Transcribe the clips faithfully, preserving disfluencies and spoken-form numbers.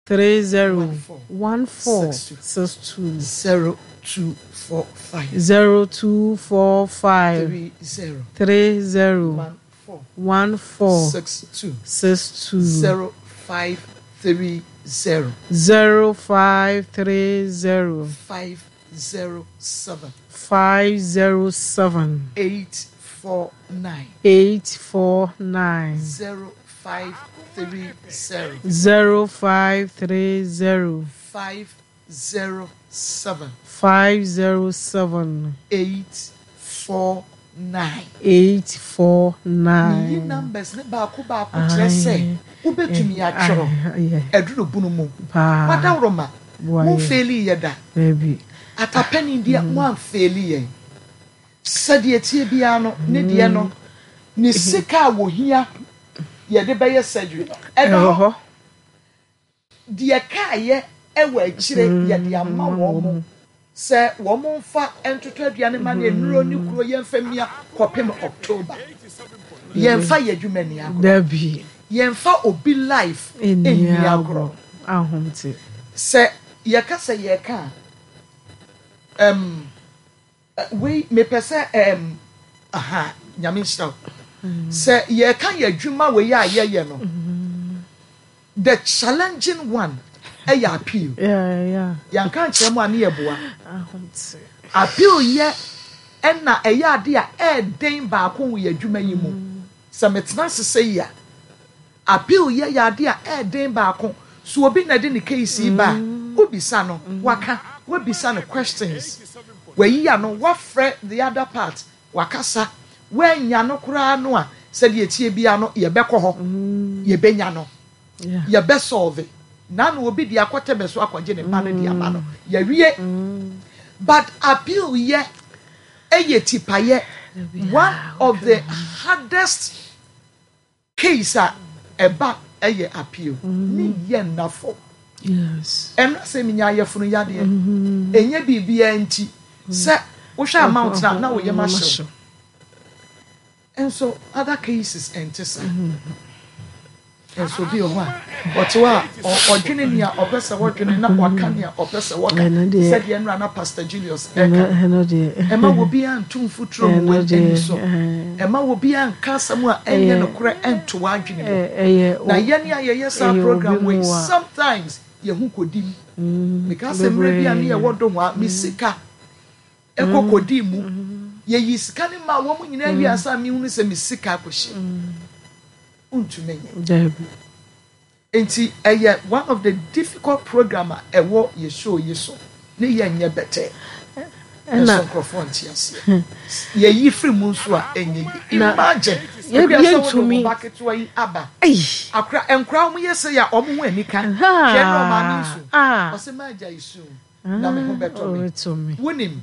Three zero one four one four six two six two zero two four five zero two four five three zero three zero one four one four six two six two zero five three zero zero five three zero five zero seven five zero seven eight four nine eight four nine zero five three zero zero five three zero five zero seven five zero seven eight four nine. eight four Meyi nine. numbers ne baako baako kyerɛ sɛ wobɛtumi atwerɛ Aye, ɛduru bunu mu paa wadaworoma Boa yɛ. momfail yɛ da. Baabi. Atapɛni deɛ, moamfail yɛn. Sɛdeɛ tie biara no, ne deɛ no, ne sika a wɔhia yɛde bɛyɛ surgery no ɛda Ɛwɔ hɔ. Hɔ. Deɛ kaayɛ ɛwɔ akyire, yɛde ama wɔn mo sɛ wɔn mo mfa ntoto aduane ma ne nnuro ne kuro, yɛmfa mia kɔpem October. Yɛmfa yɛ adwuma ni agorɔ. Dabi. Yɛmfa obi life Ɛnni ɛnni agorɔ. Agorɔ. Ahomte. Sɛ yɛka sɛ yɛka a, um, wei mepɛ sɛ um, aha, Nyame nhyira wo. Sɛ yɛka yɛ adwuma wei a yɛyɛ no, the challenging one ɛyɛ appeal. Yeah, yeah. Yɛnka nkyerɛ mu a, ne yɛboa. Ahomte. Appeal yɛ ɛna ɛyɛ ade a ɛɛden baako wɔ yɛ adwuma yi mu. Sɛ metena ase sɛ yi a, appeal yɛ yɛ ade a ɛɛden baako. So obi na de ne case yi ba a, wobisa no, waka, wabisa no questions, wayi ano, wafrɛ the other part, wakasa, woanya no koraa no a, sɛdeɛ tie bia no, yɛbɛkɔ hɔ, yɛbɛnya no, Yeah. yɛbɛsolve na na obi de akɔtɛ bɛ so akɔgye ne ba no de ama no, yɛwie. But appeal yɛ ɛyɛ tipayɛ, one of the hardest case a ɛba ɛyɛ appeal ne yɛ nnafo. Yes. Ɛno sɛ menya ayɛfono yadeɛ, ɛnyɛ biribiara nti sɛ wohwɛ amount na na woyɛ ma hyew. Nso other cases ɛnte saa. Nso obi wɔ hɔ a ɔte hɔ a ɔ- ɔdwene nea ɔpɛ sɛ wɔdwene na waka nea ɔpɛ sɛ wɔka. Ɛno deɛ- Sɛdeɛ nnora na Pastor Julius Ɛno ɛka, ɛno deɛ. ɛma obiara nto mfuturo mu Ɛno wɔ deɛ, ani so. ɛɛ. Ɛma obiara nka asɛm a ɛnyɛ Ɛyɛ- nokorɛ ɛnto w'adwene mu. Ɛ- Ɛyɛ Na yɛne a yɛyɛ saa ɛyɛ program obi wei, mu a- sometimes yɛho kɔdi mu. Meka sɛ mmerɛ bi a ne yɛwɔ do hɔ a, me sika ɛkɔ kɔdi mu. Yɛyi sika no ma wɔn nyinaa wie ansa mehunu sɛ me sika akɔhyɛ mu. Wontumi nyɛ. Dabi. Nti ɛyɛ one of the difficult program a ɛwɔ yɛ show yi so ne yɛ nyɛ bɛtɛ. Ɛna Nso nkurɔfoɔ nte aseɛ. Yɛyi firi mu nso a, ɛnyɛ yi. Na- Imagine Yɛ- ekua sɛ wode yɛntumi- wo ba ketewa yi aba. Ei. Akora nkora wɔn yɛ sɛ yɛ a, wɔn ho anika. Ah. Hwɛ na ɔmaame nsu. Ah. Ɔsɛ maa gya isu na me ho bɛtɔ me. Ɔbɛtɔ me. Wonim,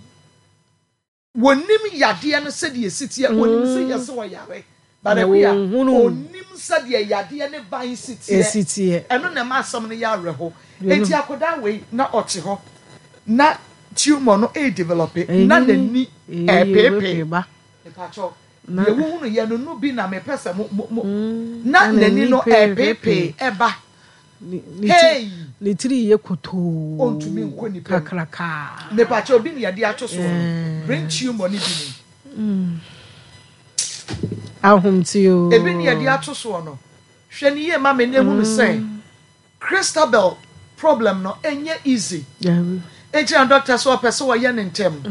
wonim yadeɛ no sɛdeɛ esi teɛ. Wonim sɛ yɛsɛ ɔyare, but akuya Wɔnhunu. onim sɛdeɛ yadeɛ ne ban si teɛ. Esi teɛ. Ɛno na ɛma asɛm no yɛ awerɛho. Eti akwadaa wei na ɔte hɔ na tumor no ɛredevelop na n'ani ɛɛpeepee. Ba. Mepakyɛw, Na- deɛ wohunu yɛ no no bi na mepɛ sɛ mo mo mo na Na n'ani no n'ani ɛɛpeepee ɛba. Ne ne ti Hey! Ne tiri yɛ kotoo. Ɔntumi nkɔ nipa mu. Kakraka. Mepakyɛw, obi ne yɛde ato so no, brain tumor no bi ni. Ahomte o. Ebi ne yɛde ato soɔ no, hwɛ ne yie ma me na ehunu sɛ Christabel problem no ɛnyɛ easy. Dabi. Eti na doctor sɛ ɔpɛ sɛ ɔyɛ ne ntɛm.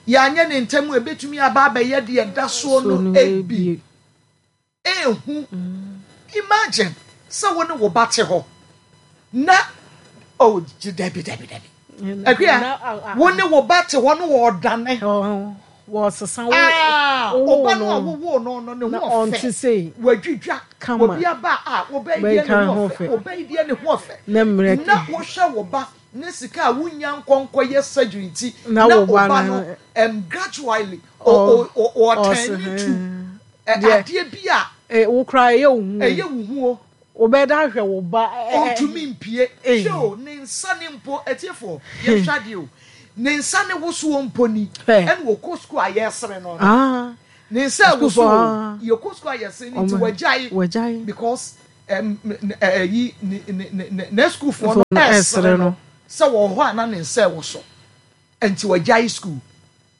Yɛanyɛ ne ntɛm a, ebetumi aba abɛyɛ deɛ ɛda soɔ So no no ebi ebie. Ehu, imagine sɛ wo ne wo ba te hɔ na oh, gye, dabi dabi dabi, Akua, wo ne wo ba te hɔ no, wɔɔdane. Wɔsesa wo. Ah, wo ɔba no a no. wowoo no no ne Na ho ɔnte ɔfɛ sei. wadwidwa. Kama. Obi aba a, wobɛyi deɛ Bɛka ne ho ho ɔfɛ fɛ. wobɛyi deɛ ne ho ɔfɛ. Na mmerɛ Na wohwɛ wo ba ne sika a wonya nkɔnkɔ yɛ surgery nti Na na wo wo ba ba no- no um, gradually Ɔ- ɔtɛn ɔse- to ɛ, Deɛ- adeɛ bi a Eh, wo koraa ɛyɛ wo hu. Ɛyɛ wo hu o. Wobɛda ahwɛ wo ba. ɛ- ɛ- Ɔntumi mpie. Eh. Hwɛ o, ne nsa ne mpo, atiefoɔ, yɛhwɛ adeɛ o, ne nsa ne wosoɔ mpo ni. Hwɛ. Ɛna wɔkɔ sukuu a yɛsere no no Ah. ne nsa a Sukuufoɔ, wosoɔ ah. o, yɛkɔ sukuu a yɛsere no nti Ɔmo- wagyae Wagyae. because ɛyi ne ne ne ne sukuufoɔ no ɛsere no sɛ wɔ hɔ a na ne nsa ɛwɔ so, nti wɔgyae school,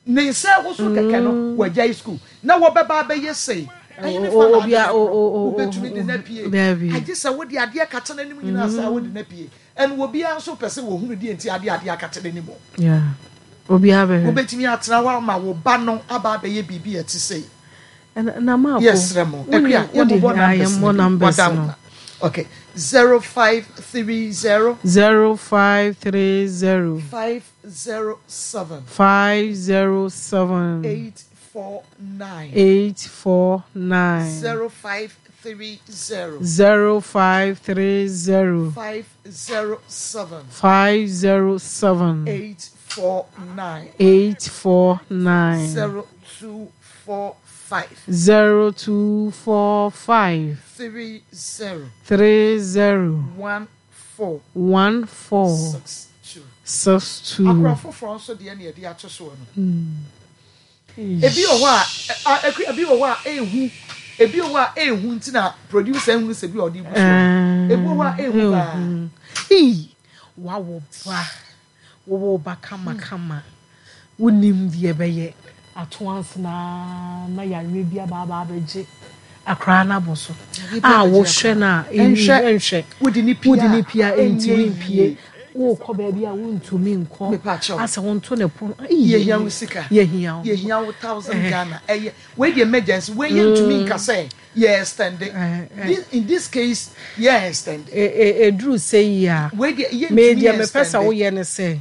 ne nsa ɛwɔ so kɛkɛ no, wɔgyae school na wɔbɛba abɛyɛ sei. Ɛyi ne fa na ade wobɛtumi de na pie, agye sɛ wode adeɛ kata n'anim nyinaa sɛ wode na pie. Ɛna obiara nso pɛ sɛ wɔhunu deɛ nti adeɛ adeɛ akata n'anim. Obiara bɛhwɛ. Wobɛtumi atena hɔ ama wo ba no aba abɛyɛ biribi a ɛte sei? Na maako. Yɛsrɛ mo, Akua, yɛmmobɔ numbers no bi. Okay, zero five three zero. Zero five three zero. five zero seven. Five zero seven. eight four nine. Eight four nine. zero five three zero. Zero five three zero. five zero seven. Five zero seven. eight four nine. Eight four nine. zero two four five. Zero two four five. three zero. Three zero. one four. One four. six two. Six two. Akora foforɔ nso deɛ ne yɛde ato soɔ no, ebi wɔ hɔ a ebi wɔ hɔ a ehu, ebi wɔ hɔ a ehu, nti na producer ehunu sɛ bi a ɔde gu so, ebi wɔ hɔ a ehu paa. Ii, wawo ba, wɔwɔ ba kamakama, wonim deɛ ɛbɛyɛ ato ansana na yareɛ bi aba aba abɛgye akwaraa no abɔ so a wohwɛ no a, ɛnhwɛ. Wode ne pia. Wode ne pia, ɛntumi ɛnyɛ mpie. Yie. Wokɔ baabi a wontumi nkɔ. Mepa kyɛw. Asɛ wonto ne pono. Yɛhia wo sika. Yɛhia wo. Yɛhia wo thousand Ghana. Ɛyɛ wei deɛ, emergency wei, yɛ ntumi nka sɛ yɛ extend. This, in this case, yɛ extend. Ɛduru sɛ yi a, wei deɛ yɛ me ntumi deɛ, mepɛ sɛ extend. Woyɛ ne sɛ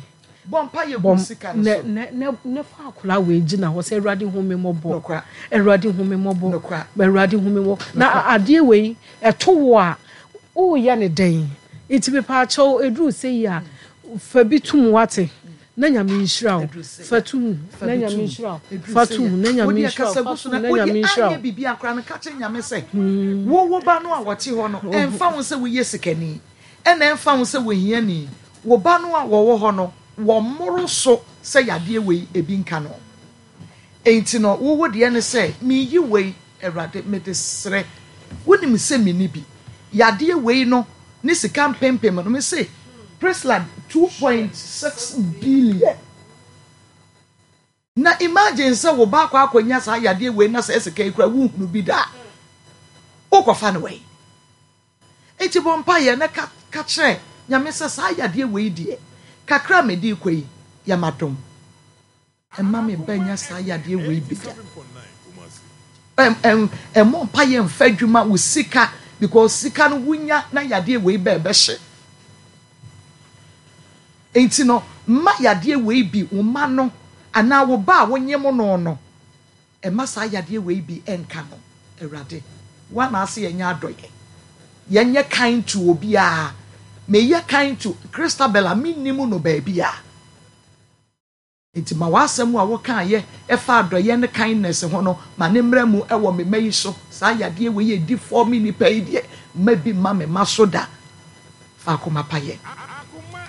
bɔ mpa yɛ bɔ gu sika no ne so. Ne ne ne fa akwaraa wei gyina hɔ sɛ, Awurade, hu me mmɔbɔ. Nokora. Awurade, hu me mmɔbɔ. Nokora. Awurade, hu me mmɔbɔ. Na adeɛ wei ɛto wo a, woyɛ ne dɛn? Nti mepaakyɛw, ɛduru sɛ yi a, fa bi tum, wate, na Nyame nhyira wo. Ɛduru sɛ fa tum fa na bi Nyame tum. nhyira wo. Ɛduru Fa sɛ tum yɛ. na Nyame Wode nhyira wo. akasa Fa gu so tum na na wode Nyame nhyira anyɛ wo. biribi akora no, ka kyerɛ Nyame sɛ wo wo ba no a wɔte hɔ no, ɛmfa ho sɛ woyɛ sikani, ɛna ɛmfa ho sɛ wohiani, wo ba no a wɔwɔ hɔ no, wɔmmoro so sɛ yadeɛ wei ebi nka no. Enti no, wowo deɛ ne sɛ meyi wei, Awurade, mede serɛ, wonim sɛ menni bi, yadeɛ wei no ne sika mpempem no, me se Priscilla, two point six billion. Na imagine sɛ wo ba akɔ akɔnya saa yadeɛ wei na sɛ sika yi kora wohunu bi da a, wokɔfa no wei. Nti bɔ mpaeɛ na ka ka kyerɛ Nyame sɛ saa yadeɛ wei deɛ, kakra a mede kɔ yi, yɛmadom, ɛma me ba nya saa yadeɛ wei bi da. ɛm ɛm ɛmɔ mpaeɛ mfa adwuma wo sika, because sika no wunya na yadeɛ wei bɛɛ bɛhyɛ. Nti no, mma yadeɛ wei bi wo ma no anaa wo ba a wonyem no no ɛma saa yadeɛ wei bi ɛnka no. Awurade, wa na ase yɛnyɛ adɔyɛ, yɛnyɛ kind to obiara. Meyɛ kind to Christabel a mennim no baabi a, nti ma w'asɛm a wokaayɛ ɛfa adɔyɛ ne kindness ho no, ma ne mmerɛ mu ɛwɔ me mma yi so. Saa yadeɛ wei yɛ di fɔ me nipa yi deɛ, mma bi mma me ma so da. Fa akoma pa yɛ.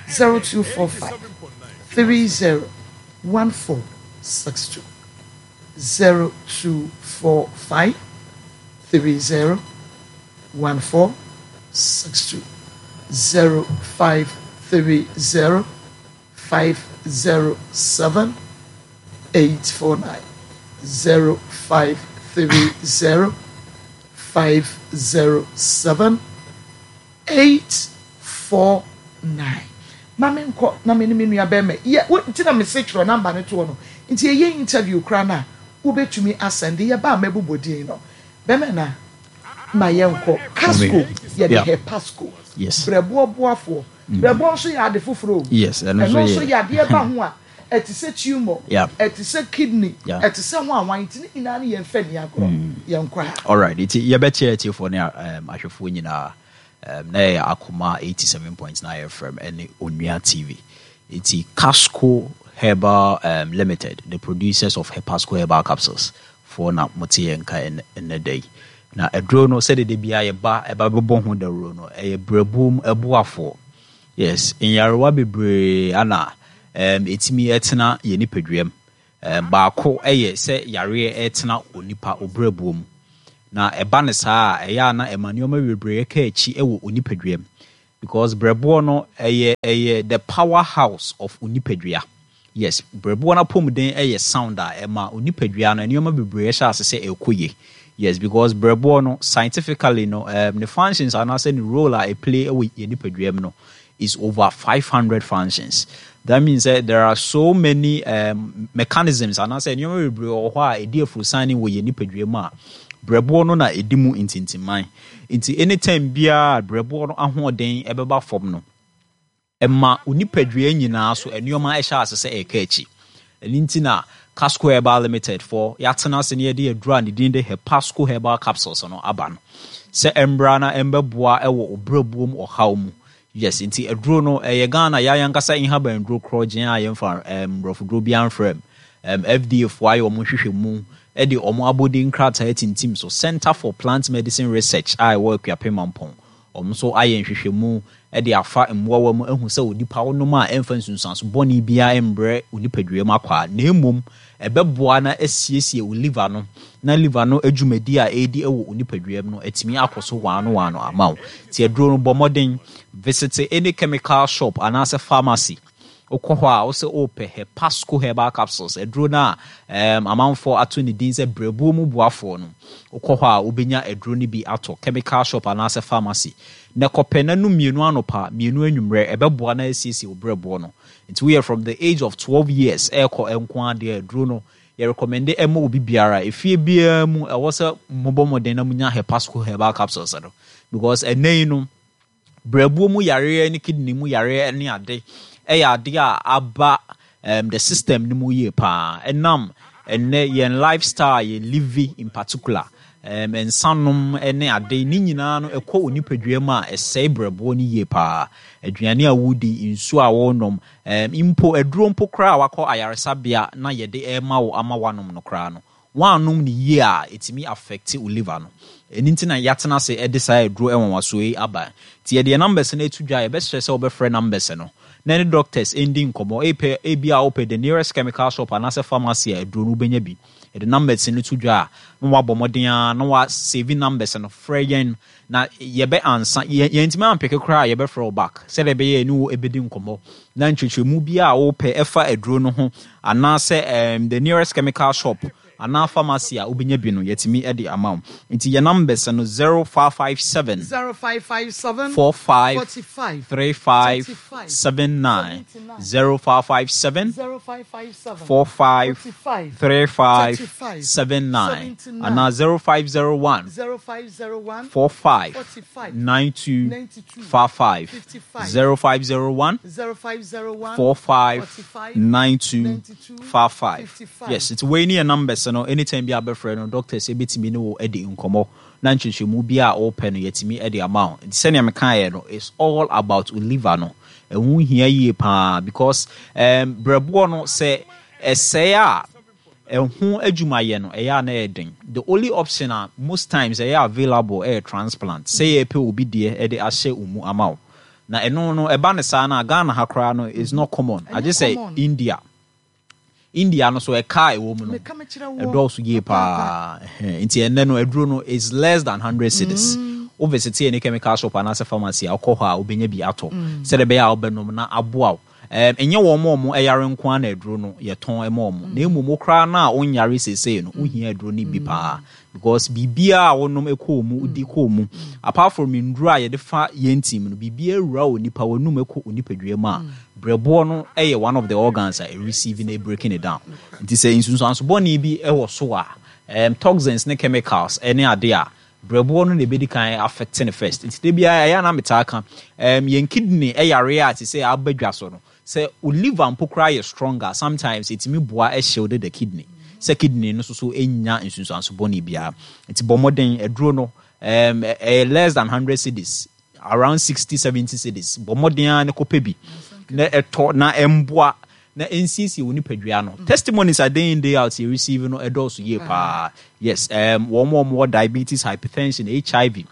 zero two four five three zero one four six two, zero two four five three zero one four six two, zero five three zero five zero seven eight four nine, zero five three zero five zero seven eight four nine. Ma me nkɔ na me ne me nua bɛrima yɛ wo. Nti na me se twerɛ number ne toɔ no, nti yɛyɛ interview koraa no a, wobɛtumi asɛnde yɛba a mɛbobɔ din no. Bɛrima na ma yɛnkɔ Casco, yɛde Yeah. Hepasco Yes. brɛboɔ boafoɔ. Brɛboɔ nso yɛ ade foforɔ o. Yes, ɛno nso ɛno nso yɛ. yɛ adeɛ ba ho a, ɛte sɛ tumor, Yeah. ɛte sɛ kidney, Yeah. ɛte sɛ ho awan, nti ne nyinaa no yɛmfa ni agorɔ. Yɛnkɔ ha. Alright, nti yɛbɛkyerɛ atiefoɔ ne um, ahwɛfoɔ nyinaa um, na yɛyɛ Akoma eighty-seven point nine F M ɛne Onua T V. Nti Casco Herbal um, Limited, the producers of Hepasco herbal capsules foɔ na mote yɛn nka ɛnɛ ɛnɛ da yi. Na aduro no, sɛdeɛ da biara yɛba ɛba bɛbɔ ho dawuro no, ɛyɛ brɛbuom ɛboafoɔ. Yes, nyarewa bebree ana um, ɛtumi ɛtena yɛ nipadua mu. um, baako ɛyɛ sɛ yareɛ ɛtena onipa obrɛbuo mu. Na ɛba ne saa a, ɛyɛ a na ɛma nneɛma bebree ka akyi wɔ onipadua mu, because brɛboɔ no ɛyɛ ɛyɛ the power house of onipadua. Yes, brɛboɔ no apɔmuden ɛyɛ sound a, ɛma onipadua no nneɛma bebree hyɛ ase sɛ ɛkɔ yie. Yes, because brɛboɔ no, scientifically no, um, ne functions anaasɛ ne role a ɛplay wɔ yɛ nipadua mu no is over five hundred functions. That means that there are so many um, mechanisms anaasɛ nneɛma bebree wɔ hɔ a ɛdi afurusan wɔ yɛ nipadua mu a brɛboɔ no na ɛdi mu ntintiman. Nti anytime biara brɛboɔ no ahoɔden ɛbɛba fam no, ɛma onipadua nyinaa so nneɛma ɛhyɛ ase sɛ ɛka akyi. Ɛno nti na Casco Herbal Limited for yɛatena ase ne yɛde aduru a ne din de Hepasco Herbal Capsules no aba no sɛ ɛmbra na ɛmbɛboa ɛwɔ obrɛboɔ mu ɔhaw mu. Yes, nti aduro no ɛyɛ Ghana yɛayɛ ankasa nhaban duro korɔgyen a yɛmfa mmorɔfoduro bi amfrɛ m um, F D A foɔ ayɛ ɔmo nhwehwɛmu ɛde ɔmo abɔde nkrataa tintim so. Center for Plant Medicine Research a ɛwɔ Akuapem Mampɔn, ɔmo nso ayɛ nhwehwɛmu ɛde afa mmoawa mu ahu sɛ onipa wonom a, ɛmfa nsunsuanso bɔne biara mbrɛ onipadua mu akɔ a, na mmom ɛbɛboa na asiesie wo liver no, na liver no adwumadi a ɛredi wɔ onipadua mu no atumi akɔ so waano waano ama wo. Nti aduro no, bɔ mmɔden visit any chemical shop anaasɛ pharmacy. Wokɔ hɔ a, wosɛ wopɛ Hepasco Herbal Capsules aduro no a um, amanfoɔ ato ne din sɛ brɛbuo mu boafoɔ no. Wokɔ hɔ a, wobɛnya aduro no bi atɔ, chemical shop anaasɛ pharmacy, na kɔpɛ na no mmienu anɔpa, mmienu anwummerɛ. Ɛbɛboa na asiesie wo brɛboɔ no. Nti woyɛ from the age of twelve years ɛrekɔ nko adeɛ, aduro no yɛrecommend ɛma obi biara. Efie biara mu, ɛwɔ sɛ mobɔ mmɔden na munya Hepasco Herbal Capsules no, because ɛnɛ yi no, brɛbuo mu yareɛ ne kidney mu yareɛ ne ade ɛyɛ ade a aba um, the system no mu yie paa, ɛnam ɛnɛ yɛn lifestyle yɛ live, in particular um, nsanom ne ade ne nyinaa no ɛkɔ onipadua mu a, ɛsɛe brɛboɔ no yie paa. Aduane a wodi, nsuo a wɔnom, um, mpo aduro mpo koraa a wakɔ ayaresabea na yɛde ɛma wo ama wanom no koraa no, wanom ne yie a, ɛtumi affect wo liver no. Ɛno nti na yɛatena ase ɛde saa aduro ɛnwanwasoɔ yi aba. Nti yɛde yɛn numbers no atu dwa. Yɛbɛsrɛ sɛ wobɛfrɛ numbers no na ne doctors ɛndi nkɔmmɔ. Epɛ ebi a wopɛ the nearest chemical shop anaasɛ pharmacy a aduro no wobɛnya bi. Yɛde numbers no to dwa a, na wabɔ mmɔden a na wasave numbers no, frɛ yɛn na yɛbɛ ansa. Yɛntumi ampick koraa a, yɛbɛfrɛ wo back sɛdeɛ ɛbɛyɛ ɛne wo ɛbɛdi nkɔmmɔ na nkyerɛkyerɛmu bi a wopɛ ɛfa aduro no ho anaasɛ um, the nearest chemical shop anaa pharmacy a wobɛnya bi no, yɛtumi de ama wo. Nti yɛ numbers no zero five five seven zero five five seven four five forty-five three five thirty-five seven nine. seventy-nine. zero five five seven zero five five seven four five forty-five three five thirty-five seven nine seventy-nine anaa zero five zero one zero five zero one four five forty-five nine two ninety-two five five. fifty-five. zero five zero one zero five zero one four five forty-five nine two ninety-two five five. fifty-five. Yes, nti wei ne yɛ numbers no. Anytime bi a bɛfrɛ no, doctors ebɛtumi ne wo adi nkɔmmɔ na nkyerɛkyerɛmu bi a wɔpɛ no, yɛtumi de ama wo. Nti sɛnea mekaeɛ no, it's all about liver no. Ɛho hia yie paa because um, brɛboɔ no, sɛ ɛsɛe a, ɛho adwumayɛ no ɛyɛ a na ɛyɛ den. The only option a most times ɛyɛ available ɛyɛ transplant, sɛ yɛpɛ obi deɛ ɛde ahyɛ wo mu ama wo. Na ɛno no, ɛba ne saa no a, Ghana ha koraa no is not common. Agye sɛ Common. India. India no so, ɛka a ɛwɔ mu no Meka mekyerɛ wo. ɛdɔɔso yie paa. Ɛhɛn. Nti ɛnɛ no, aduro no is less than hundred cedis. Wo visit any chemical shop anaasɛ pharmacy a, wokɔ hɔ a, wobɛnya bi atɔ sɛdeɛ ɛbɛyɛ a wobɛnom na aboa wo. um, ɛnyɛ wɔn a wɔn ɛyare nko ara na aduro no yɛtɔn ɛma wɔn, na mmom wo koraa no a wonyare seesei no, wohia aduro no bi paa, because biribiara a wonom ɛkɔɔ mu, wodi kɔɔ mu, apart from nduro a yɛde fa yɛn team no, biribiara wura wɔ nipa wɔnum ɛkɔ onipadua mu a, brɛboɔ no ɛyɛ one of the organs a ɛreceive na breaking it down. Nti sɛ nsunsuanso bɔne bi ɛwɔ so a, um, toxins ne chemicals ɛne ade a, brɛboɔ no na ɛbɛdi kan affect no first. Nti da biara ɛyɛ a na metaa ka um, yɛn kidney ɛyare a te sɛ aba dwa so no, sɛ wo liver mpo koraa yɛ stronger, sometimes ɛtumi boa ɛshield the kidney sɛ kidney no nso so ɛnya nsunsuanso bɔne biara. Nti bɔ mmɔden, aduro no um, ɛyɛ less than hundred cedis, around sixty seventy cedis. Bɔ mmɔden ara ne kɔpɛ bi na ɛtɔ na ɛmboa na ɛnsiesie wo nipadua no. Testimonies a day in, day out yɛ receive no ɛdɔɔso yie paa. Yes, um, wɔn a wɔwɔ diabetes, hypertension, H I V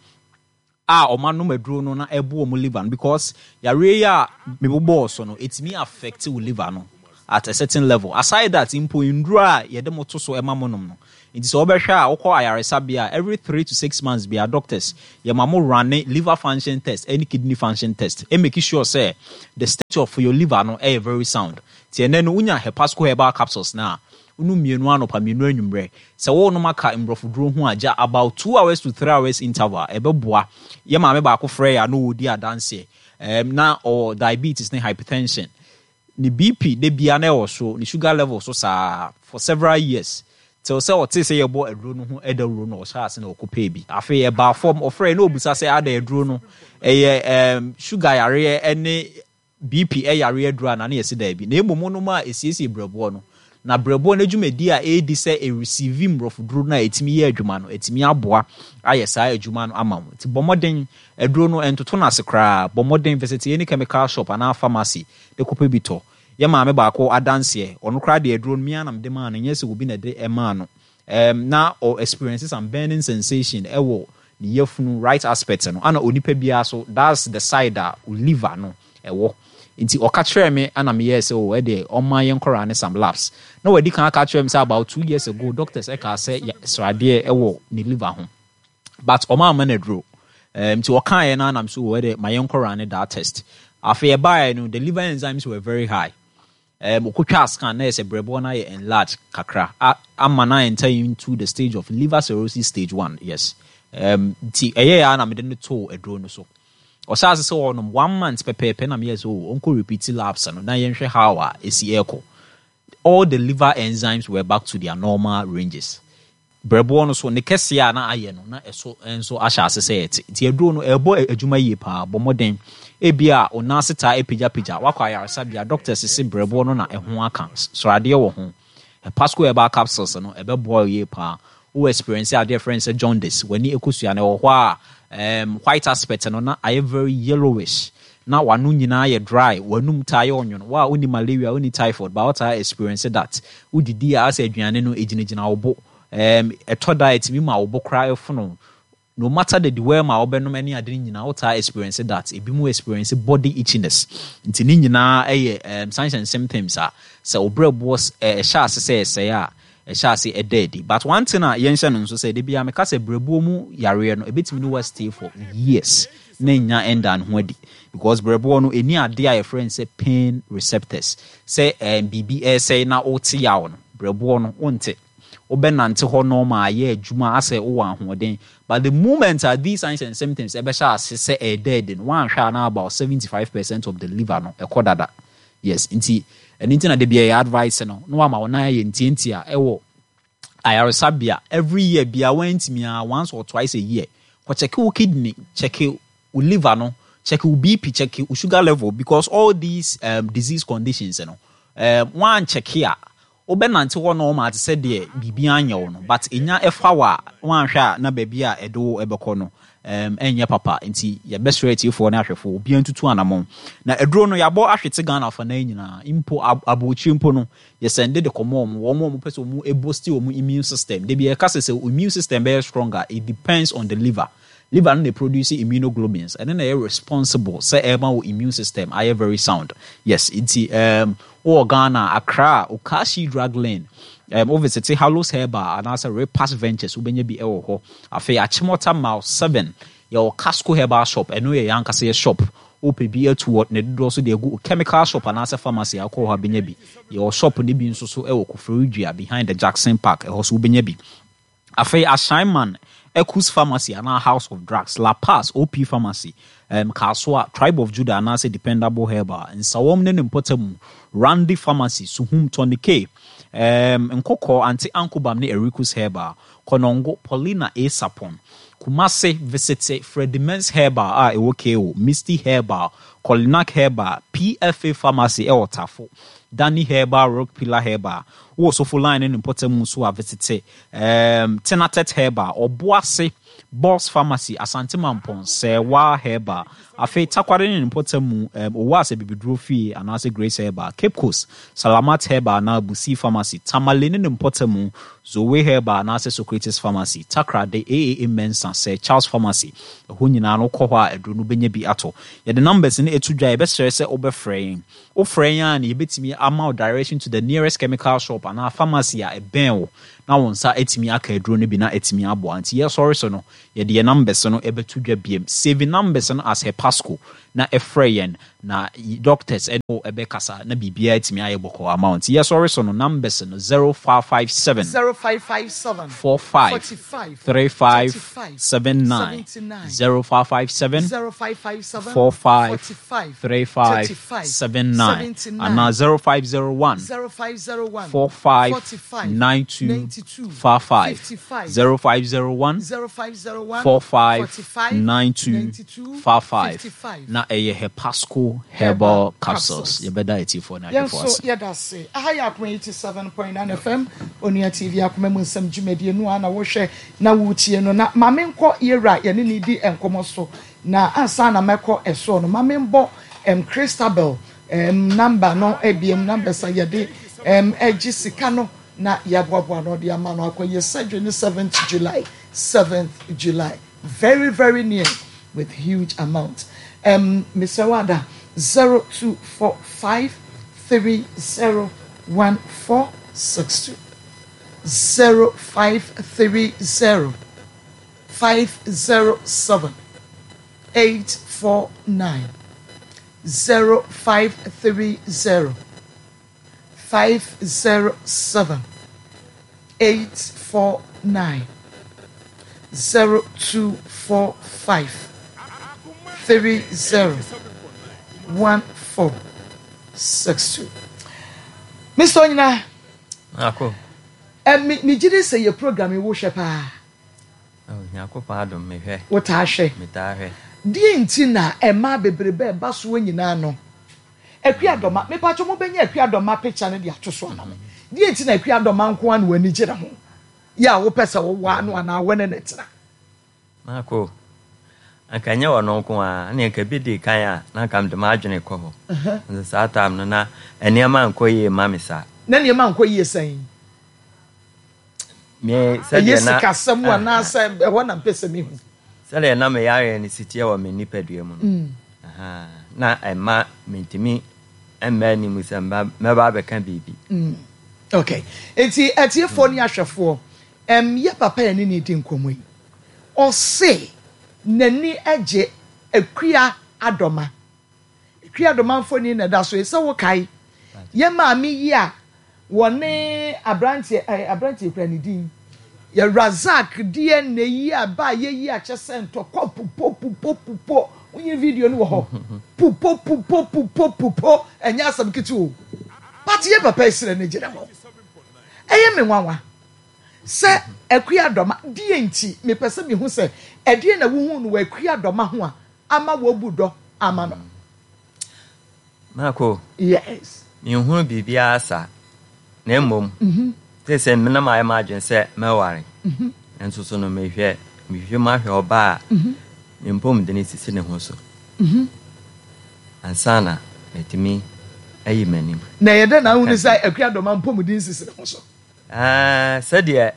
a ɔmo anom aduro no na ɛbo wɔn liver no, because yareɛ yi a mebobɔɔ so no, ɛtumi affect wo liver no. at a certain level. Aside that, mpo nduro a yɛde mo to so ɛma mo nom no, nti sɛ wɔbɛhwɛ a, wokɔ ayaresabea a, every three to six months bia, doctors yɛma mo run liver function test ɛne kidney function test, ɛ make sure sɛ the state of your liver no ɛyɛ very sound. Nti ɛnɛ no, wonya Hepasco herbal capsules na wonu mmienu anɔpa, mmienu anwummerɛ, sɛ wɔnom aka mborɔfoduro ho a, gya about two hours to three hours interval, ɛbɛboa. Yɛ maame baako frɛ yɛ a, na ɔredi adanseɛ um, na ɔwɔ diabetes ne hypertension. Ne B P de bia na ɛwɔ so, ne sugar level so saa for several years, till sɛ ɔte sɛ yɛbɔ aduro no ho ɛdawuro no, ɔhyɛ ase na ɔkɔpɛɛ bi. Afei ɛbaa fam. Ɔfrɛ na ɔbusa sɛ ada aduro no ɛyɛ um, sugar yareɛ ɛne B P ɛyareɛ aduro a, na ne yɛsi daabi, na mmom no a ɛsiesie brɛboɔ no, na brɛboɔ no adwumadi a ɛredi sɛ ɛreceive mborɔfoduro no a ɛtumi yɛ adwuma no, ɛtumi aboa ayɛ saa adwuma no ama wo. Nti bɔ mmɔden, aduro no ɛntoto no ase koraa. Bɔ mmɔden visit any chemical shop anaa pharmacy de kɔpɛ bi tɔ. Yɛ maame baako adanseɛ, ɔno koraa de aduro no mia nam de maa no, nyɛ sɛ obi na de ɛmaa no um, na ɔ experience some burning sensation ɛwɔ ne yafunu right aspect no, ana onipa biara so, that's the side a liver no ɛwɔ. Nti ɔka kyerɛ me, ana meyɛɛ sɛ o, ɛdeɛ ɔma yɛn nkɔraa ne some labs, na wadi kan aka kyerɛ me sɛ about two years ago, doctors ɛka sɛ sradeɛ ɛwɔ ne liver ho, but ɔma ama no aduro um, nti ɔkaeɛ no, anam so wɔ ɛdeɛ ma yɛn nkɔraa ne that test. Afei ɛbaeɛ no, the liver enzymes were very high um, okotwa scan na yɛ sɛ brɛboɔ no ayɛ enlarge kakra ama na enter into the stage of liver cirrhosis stage one. Yes, um, nti ɛyɛ yɛ a na mede no too aduro no so. Ɔhyɛ ase sɛ ɔnom one month pɛpɛɛpɛ, na meyɛ sɛ o, ɔnkɔ repeat labs no na yɛnhwɛ how a ɛsi ɛrekɔ. All the liver enzymes were back to their normal ranges. Brɛboɔ no so ne kɛseɛ a na ayɛ no, na ɛso nso ahyɛ ase sɛ ɛte. Nti aduro no ɛrebɔ adwuma yie paa. Bɔ mmɔden, ebi a ɔnan ase taa apagyapagya, wakɔ ayaresabea, doctors sɛ brɛboɔ no na ɛho aka, sradeɛ wɔ ho, Hepasco herbal capsules no ɛbɛboa yie paa. Wo experience adeɛ frɛ sɛ jaundice, w'ani ekosua no ɛwɔ hɔ a, um, white aspect no na ayɛ very yellowish, na w'ano nyinaa yɛ dry, w'anum taa yɛ ɔnwono, wa woni malaria, woni typhoid, ba wɔtaa experience that wodidi a, asɛ aduane no egyinagyina wo bo um, ɛtɔ da ɛtumi ma wo bo koraa ɛfono, no matter the dewormer a wɔbɛnom ne ade no nyinaa, wotaa experience that. Ebi mu experience body itchiness. Nti ne nyinaa ɛyɛ um, signs and symptoms a sɛ wo brɛboɔ ɛhyɛ ase sɛ ɛsɛe a, ɛhyɛ ase ɛda adi. But one thing a yɛnhyɛ no nso sɛ, de bia meka sɛ brɛboɔ mu yareɛ no, ɛbɛtumi ne wa stay for years na nya ɛnda ne ho adi, because brɛboɔ no ɛni adeɛ a yɛfrɛ no sɛ pain receptors, sɛ um, biribi ɛsɛe na wote yaw no, brɛboɔ no wonte. Wobɛnante hɔ normal, ayɛ adwuma asɛ wowɔ ahoɔden, but the moment a these signs and symptoms ɛbɛhyɛ ase sɛ ɛɛda adi no, woanhwɛ a, na about seventy-five percent of the liver no ɛkɔ dada. Yes, nti ɛno nti na de bia yɛ advice no na wama wo nan ayɛ ntiantia ɛwɔ ayaresabea every year bia, wantumi a, once or twice a year, kɔ check wo kidney, check wo liver no, check wo B P, check wo sugar level, because all these um, disease conditions no, um, wan check a, wobɛnante hɔ no ɔma ate sɛ deɛ biribi anyɛ wo no, but ɛnya ɛfa wɔ a, wanhwɛ a, na baabi a ɛde wo ɛbɛkɔ no um, ɛnyɛ papa. Nti yɛbɛsrɛ atiefoɔ ne ahwɛfoɔ, obiara ntutu anammɔn na aduro no yɛabɔ ahwete Ghana afa nan nyinaa, mpo abɔkyire mpo no, yɛsɛnde de kɔmɔ wɔn wɔn a wɔpɛ sɛ wɔn eboost wɔn immune system. Debi yɛka sɛ sɛ immune system bɛyɛ stronger, it depends on the liver. Liver no na produce immunoglobulins, ɛno na ɛyɛ responsible sɛ ɛma wo immune system ayɛ very sound. Yes, nti um, wowɔ Ghana, Accra, Okashi Drug Lane, um, wo visit Hallos Herbal anaasɛ Repass Ventures, wobɛnya bi ɛwɔ hɔ. Afei Achimota Mile seven, yɛwɔ Casco Herbal Shop, ɛno yɛ yɛn ankasa yɛ shop. Wopɛ bi atu wɔ ne dodoɔ so de agu chemical shop anaasɛ pharmacy, akɔ hɔ a bɛnya bi. Yɛwɔ shop no bi nso so ɛwɔ Koforidua, behind the Jackson Park, ɛhɔ so wobɛnya bi. Afei Ashaiman, Ecus Pharmacy anaa House of Drugs, La Paz, O P Pharmacy, um, Kasoa, Tribe of Judah anaasɛ Dependable Herbal, Nsawam ne ne mpɔtam, Randy Pharmacy, Suhum, Tony K, um, Nkɔkɔ, Ante Ankobam ne Ericus Herbal, Konongo, Paulina A. Sapon, Kumase, visit Freddie Mens Herbal a ɛwɔ K O, Misty Herbal, Colinac Herbal, P F A Pharmacy ɛwɔ Tafo, Danny Herbal, Rock Pillar Herbal. Wowɔ Sofo Line ne ne mpɔtam nso a, visit um, Tenatet Herbal, Ɔboase. Boss Pharmacy, Asante Mampɔn, Sɛwa Herbal. Afei Takware ne ne mpɔtam mu, um, owó asɛ bibiduro fie anaasɛ Grace Herbal. Cape Coast, Salamat Herbal anaa Busi Pharmacy. Tamale ne ne mpɔtam mu, Zoe Herbal anaasɛ Socrates Pharmacy. Takoradi, A A A Mensa, Sir Charles Pharmacy. Ɛhɔ nyinaa no kɔ hɔ a aduro no bɛnya bi atɔ. Yɛde numbers no etu dwa, yɛbɛsrɛ sɛ wobɛfrɛ yɛn. Wofrɛ yɛn a na yɛbɛtumi ama wo direction to the nearest chemical shop anaa pharmacy a ɛbɛn wo na wo nsa atumi aka aduro no bi na atumi aboa. Nti yɛsɔre so no, yɛde yɛn numbers no ɛbɛto dwa biem. Save numbers no as Hepasco na ɛfrɛ yɛn na doctors ɛne wo ɛbɛkasa na biribiara atumi ayɛ bɔkɔɔ ama wo. Nti yɛsɔre so no, numbers no zero five five seven zero five five seven four five forty-five three five thirty-five seven nine seventy-nine zero five five seven zero five five seven four five forty-five three five thirty-five seven nine seventy-nine anaa zero five zero one zero five zero one four five forty-five nine two ninety-two five five fifty-five zero five zero one zero five zero one four five forty-five nine two ninety-two five five fifty-five. Na ɛyɛ Hepasco Herbal Herbal Capsules. Capsules. Yɛbɛda atiefoɔ ne Yɛn ahwɛfoɔ nso ase. yɛda ase. Aha yɛ Akoma eighty-seven point nine F M, Onua T V, Akoma mu Nsɛm dwumadie no a na wohwɛ na wotie no. Na maame nkɔ yɛwura yɛne ne di nkɔmmɔ so, na ansa na mɛkɔ ɛsoɔ no, maame mbɔ um, Christabel um, number no ebiem, numbers a yɛde um, ɛgye sika no na yɛaboaboa no ɔde ama no akɔyɛ surgery no seventh July, seventh July, very very near, with huge amount. um, Mister Wada, zero two four five three zero one four six two, zero five three zero five zero seven eight four nine, zero five three zero five zero seven eight four nine, zero two four five three zero one four six two. Mister Onyina, Ako. ɛ mi mi gyi di sɛ yɛ program yi wohwɛ paa? Oh, Nyankopɔn adom, mehwɛ. Wotaa hwɛ? Metaa hwɛ. Deɛ nti na mmaa bebrebe ɛba soɔ nyinaa no, Akua Dɔma, mepatwa mo bɛnya Akua Dɔma picture no de ato so ama me. Deɛ nti na Akua Dɔma nko ara na w'ani gye ne ho yɛ a wopɛ sɛ wowɔ ano anaa wɔne ne tena? Mako. Anka nyɛ ɔno nko a, ne anka bi di kan a, na anka mede m'adwene kɔ hɔ. Nso saa time no na nneɛma nkɔ yie ma me saa. Na nneɛma nkɔ yie sɛn? Me ɛyɛ sɛdeɛ na sikasɛm anaasɛ ɛhɔ na mpɛ sɛ mehu? Sɛdeɛ na meyareɛ no si teɛ wɔ me nipadua mu no. Mm. Aha. Na ɛma mentumi mma anim sɛ mba- mɛba abɛka biribi. Mm. Okay, nti atiefoɔ ne ahwɛfoɔ, ɛm yɛ papa yɛ ne ne di nkɔmmɔ yi, ɔse n'ani agye Akua Adɔma. Akua Adɔma mfoni na ɛda so yi sɛ wokae yɛ maame yi a wɔne aberanteɛ ɛɛ aberanteɛ kura ne din yɛ Razak D N A yi a ba yɛ yi a kyɛ sɛ ntɔkwa pupo pupo pupo. Wonye video no wɔ hɔ, pupo pupo pupo pupo, ɛnyɛ asɛm ketewa o. But yɛ papa esrɛ ne gyina hɔ, ɛyɛ me nwanwa sɛ Akua Dɔma deɛ nti mepɛ sɛ mehu sɛ ɛdeɛ na wohu no wɔ Akua Dɔma ho a ama wɔbu dɔ ama no. Mako. Yes. Menhunu biribiara saa. Na mmom, Mhm. te sɛ menam ayɛ m'adwene sɛ mɛware. Mhm. Nso so no mehwɛ mehwehwɛ mu ahwɛ ɔbaa a Mhm. ne mpɔmuden sisi ne ho so Mhm. ansa na matumi ayi m'anim. Na ɛyɛ dɛ na wohu sɛ Akua Dɔma mpɔmuden sisi ne ho so? Ah, sɛdeɛ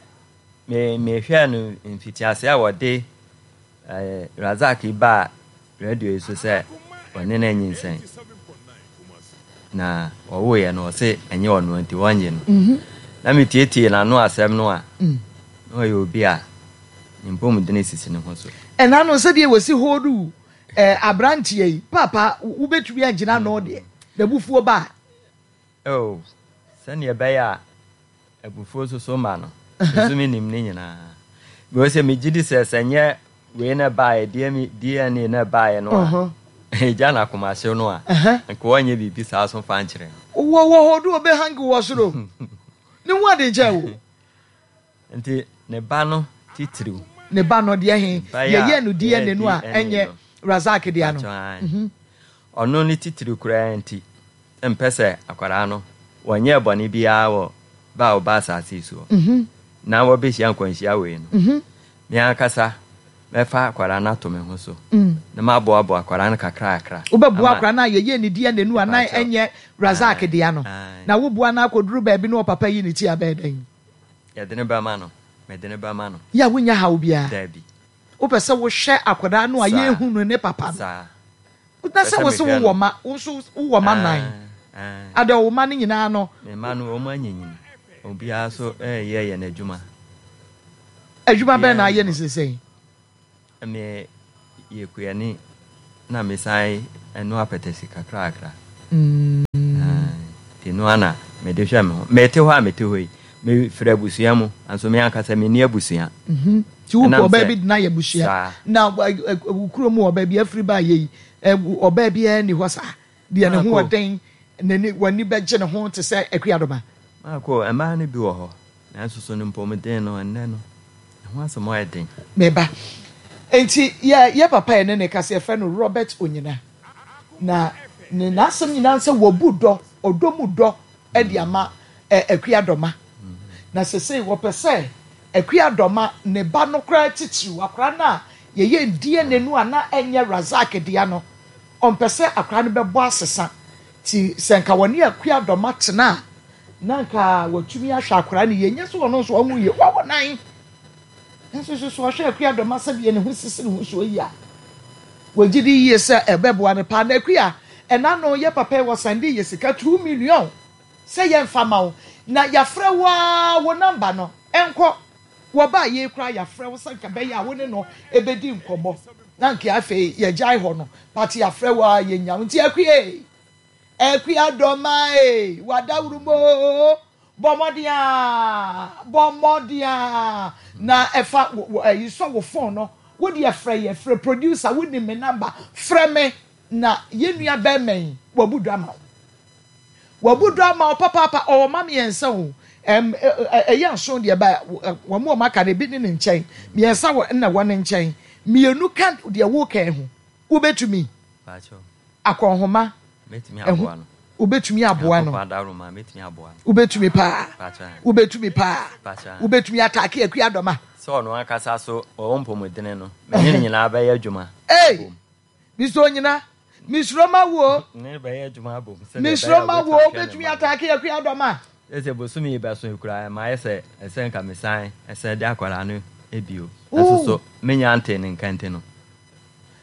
me mehwɛɛ no mfitiase a wɔde eh, Razak yi baa radio yi so sɛ ɔne no anyinsɛn na ɔwoeɛ no, ɔse ɛnyɛ ɔno nti wɔnnye no. Mhm. Na metietie n'ano asɛm no a, Mm. na ɔyɛ obi a ne mpɔmuden sisi ne ho so. Ɛna no sɛdeɛ wɔsi hoodu ɛɛ aberanteɛ yi, papa, wobɛtumi agyina ano deɛ n'abufuo ba? Oh, sɛnea ɛbɛyɛ a abufuo soso ma no nso menim ne nyinaa because sɛ megye di sɛ sɛ nyɛ wei na ɛbaeɛ D N A na ɛbaeɛ no a ɛgya no akomahyew no a, nka wɔnyɛ biribi saa so fa nkyerɛ no. Wɔ wɔ hɔ do ɔbɛ hangi wɔ soro ne ho ade nkyɛn wo. Nti ne ba no titiriw. Ne ba no deɛ he? Ba yi a yɛyɛ no D N A no a yɛyɛ ɛnyɛ D N A no. Razak deɛ no. Atwa, ae. Ɔno ne titiriw koraa nti mpɛ sɛ akwaraa no wɔnyɛɛ bɔne biara wɔ ba a ɔba asase yi soɔ Mhm. na wɔbɛhyia nkwanhyia wei no, Mhm. me ankasa Mɛfa akwadaa no ato me ho so na maboaboa akwadaa no kakrakra. Wobɛboa Ama akwadaa no a yɛyɛ ne D N A no a na Mepakyɛw. ɛnyɛ Razak Ae, dea no. ae. Na woboa no akɔduru baabi na ɔpapa yi ne ti abɛyɛ dɛn? Yɛde ne bɛma no. Mede ne bɛma no. Yɛ a wonya haw biara. Daabi. Wopɛ sɛ wohwɛ akwadaa no a Saa. yɛnhu no ne papa no. Saa. Na sɛ Pɛ sɛ wo se mehwɛ wowɔ no. ma, wo nso wowɔ ma nan. Ae, ae. Ada wo ma no nyinaa no. Me ma no, wɔn anyinyin. Obiara so ɛyɛ yɛn adwuma. Adwuma bɛn na Obiara ayɛ ne sesɛn? Me yɛ kuani na mesan ɛno apɛtɛsi kakrakra. Mm. Nti no ana mede hwɛ me ho. Mete hɔ a mete hɔ yi, mefiri abusua mu, nso me ankasa menni abusua. Mhm. Nti wopɛ Ɛnam ɔbaa sɛ bi de no ayɛ abusua. Saa. Na ɛ, ɛ, wo kurom wɔ baabi afiri ba ayɛ yi, ɛ, ɔbaa biara nni hɔ saa. Deɛ ne ho Maako. ɔden, n'ani, w'ani bɛgye ne ho te sɛ Akuadoma. Maako, mmaa no bi wɔ hɔ, nanso so no mpɔmuden no, ɛnnɛ no, ɛho asɛm ayɛ den. Meba. Nti, yɛ, yɛ papa yɛ ne ne kasa, yɛfrɛ no Robert Onyina. Na ne n'asɛm nyinaa sɛ wɔbu dɔ, ɔdɔ mu dɔ de ama, ɛ, Akuadoma. Na sesei wɔpɛ sɛ Akuadoma ne ba no koraa titiriw, akwaraa no a yɛyɛ D N A no a na ɛnyɛ Razak dea no, ɔmpɛ sɛ akwaraa no bɛbɔ asesa. Ti sɛ nka wɔne Akuadoma tena a, na nka wɔatumi ahwɛ akwaraa no yie. Nyɛ sɛ ɔno nso ɔnwo yie, wawo nan. Nso so so ɔhwɛ Akuadoma sɛdeɛ ne ho sisi ne ho so yi a, wɔgye di yie sɛ ɛbɛboa no paa. Na Akua, ɛna no yɛ papa yi wɔ sande yɛ sika two million sɛ yɛmfa ma wo. Na yɛafrɛ wo a, wo namba no ɛnkɔ. Wɔbaa yei koraa yɛafrɛ wo sɛ nka bɛyɛ a wo ne no ɛbɛdi nkɔmmɔ. Na nka afei yɛgyae hɔ no, but yɛafrɛ wo a yɛnya wo. Nti Akua, Akuadoma e, wadawuro mo. Bɔ mmɔden a, bɔ mmɔden a. Na ɛfa wo, wo, ɛyi sɔ wo phone no. Wo deɛ frɛ yɛ, frɛ producer, wo nim me number. Frɛ me na yɛn nua bɛrima yi, wabu dɔ ama wo. Wabu dɔ ama wo papaapa, ɔwɔ ma mmiɛnsa o. Ɛm, ɛ, ɛ, ɛyɛ nson deɛ ba, ɛ, wɔn a wɔn aka no, ebi ne ne nkyɛn. Mmiɛnsa wɔ, na wɔ ne nkyɛn. Mmienu ka deɛ woka ho. Wobɛtumi? Pakyɛw. Akɔnhoma. Mɛtumi Ɛho, aboa no. Wobɛtumi aboa no. Nyankopɔn adaworo mɛtumi aboa no. Wobɛtumi paa. Pakyɛw. Wobɛtumi paa. Pakyɛw. Wobɛtumi ataake Akuadoma. Sɛ ɔno ankasa so ɔwɔ mpɔmudene no, me ne ne nyinaa bɛyɛ adwuma. Ei, Mister Onyina, misuro ma wo. Ne bɛyɛ adwuma abom. Sɛdeɛ Misuro ɛbɛyɛ a ma wo, wobɛtumi ahwɛ ne wobɛtumi mma no. ataake Akuadoma. Sɛ bosome yi bɛso yi koraa, ɛma ayɛ sɛ ɛsɛ nka mesan ɛsɛ de akwadaa no ebio. Ooh. Ɛso so, menya ante ne nka nti no.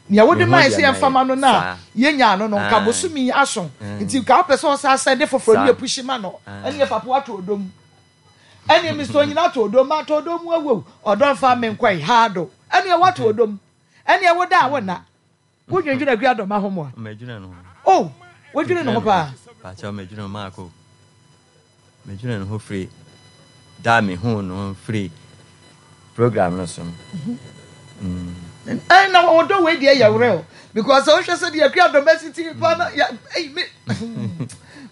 Nea wode Mehu maa deɛ sɛ yɛmfa ma no na mɛyɛ. yɛnya no no, nka Aye. bosome yi aso. Mm. Nti nka wopɛ sɛ ɔsa sɛ de foforɔ ne Saa. yɛpushi ma no. Aye. Ɛne yɛ papa wato odom. Ɛne Mister Onyina ato odom, ma ato odom mu awu. Ɔdɔ mfa me nkɔe, haado. Ɛne wato odom. Ɛne wo da a wo nna. Wo dwendwene Akuadoma ho moa? Medwene no ho. Oh, wodwene ne ho paa. Pakyɛw, medwene ho maako. Medwene ne ho firi da me hu no firi program no so no. Mm. Ɛn na wɔdɔ wei deɛ yɛ real because wohwɛ sɛ deɛ Akuadoma si ti pa na ya ɛyi me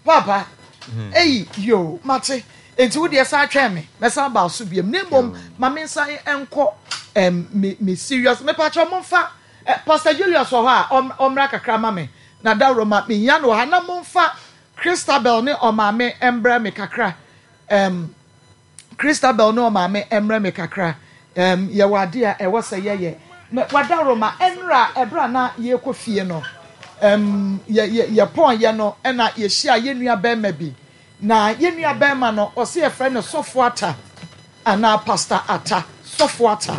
papa ɛyi yo mate nti wo deɛ san twɛn me mɛsan ba so biam ne mmom ma me nsan nkɔ ɛm me me serious me pakyɛ momfa ɛ Pastor Julius wɔ hɔ a ɔm ɔmmra kakra ma me na dawuro ma me hia no wɔ ha na momfa Christabel ne ɔmaame mbrɛ me kakra ɛm Christabel ne ɔmaame mbrɛ me kakra ɛm yɛwɔ ade a ɛwɔ sɛ yɛyɛ wadawuro ma ɛnra ɛbra na yɛkɔ fie no ɛm yɛ yɛ yɛpɔn yɛ no ɛna yɛhyia yɛn nua bɛrima bi na yɛn nua bɛrima no ɔsɛ yɛfrɛ no Sɔfo Ata anaa Pastor Ata. Sɔfo Ata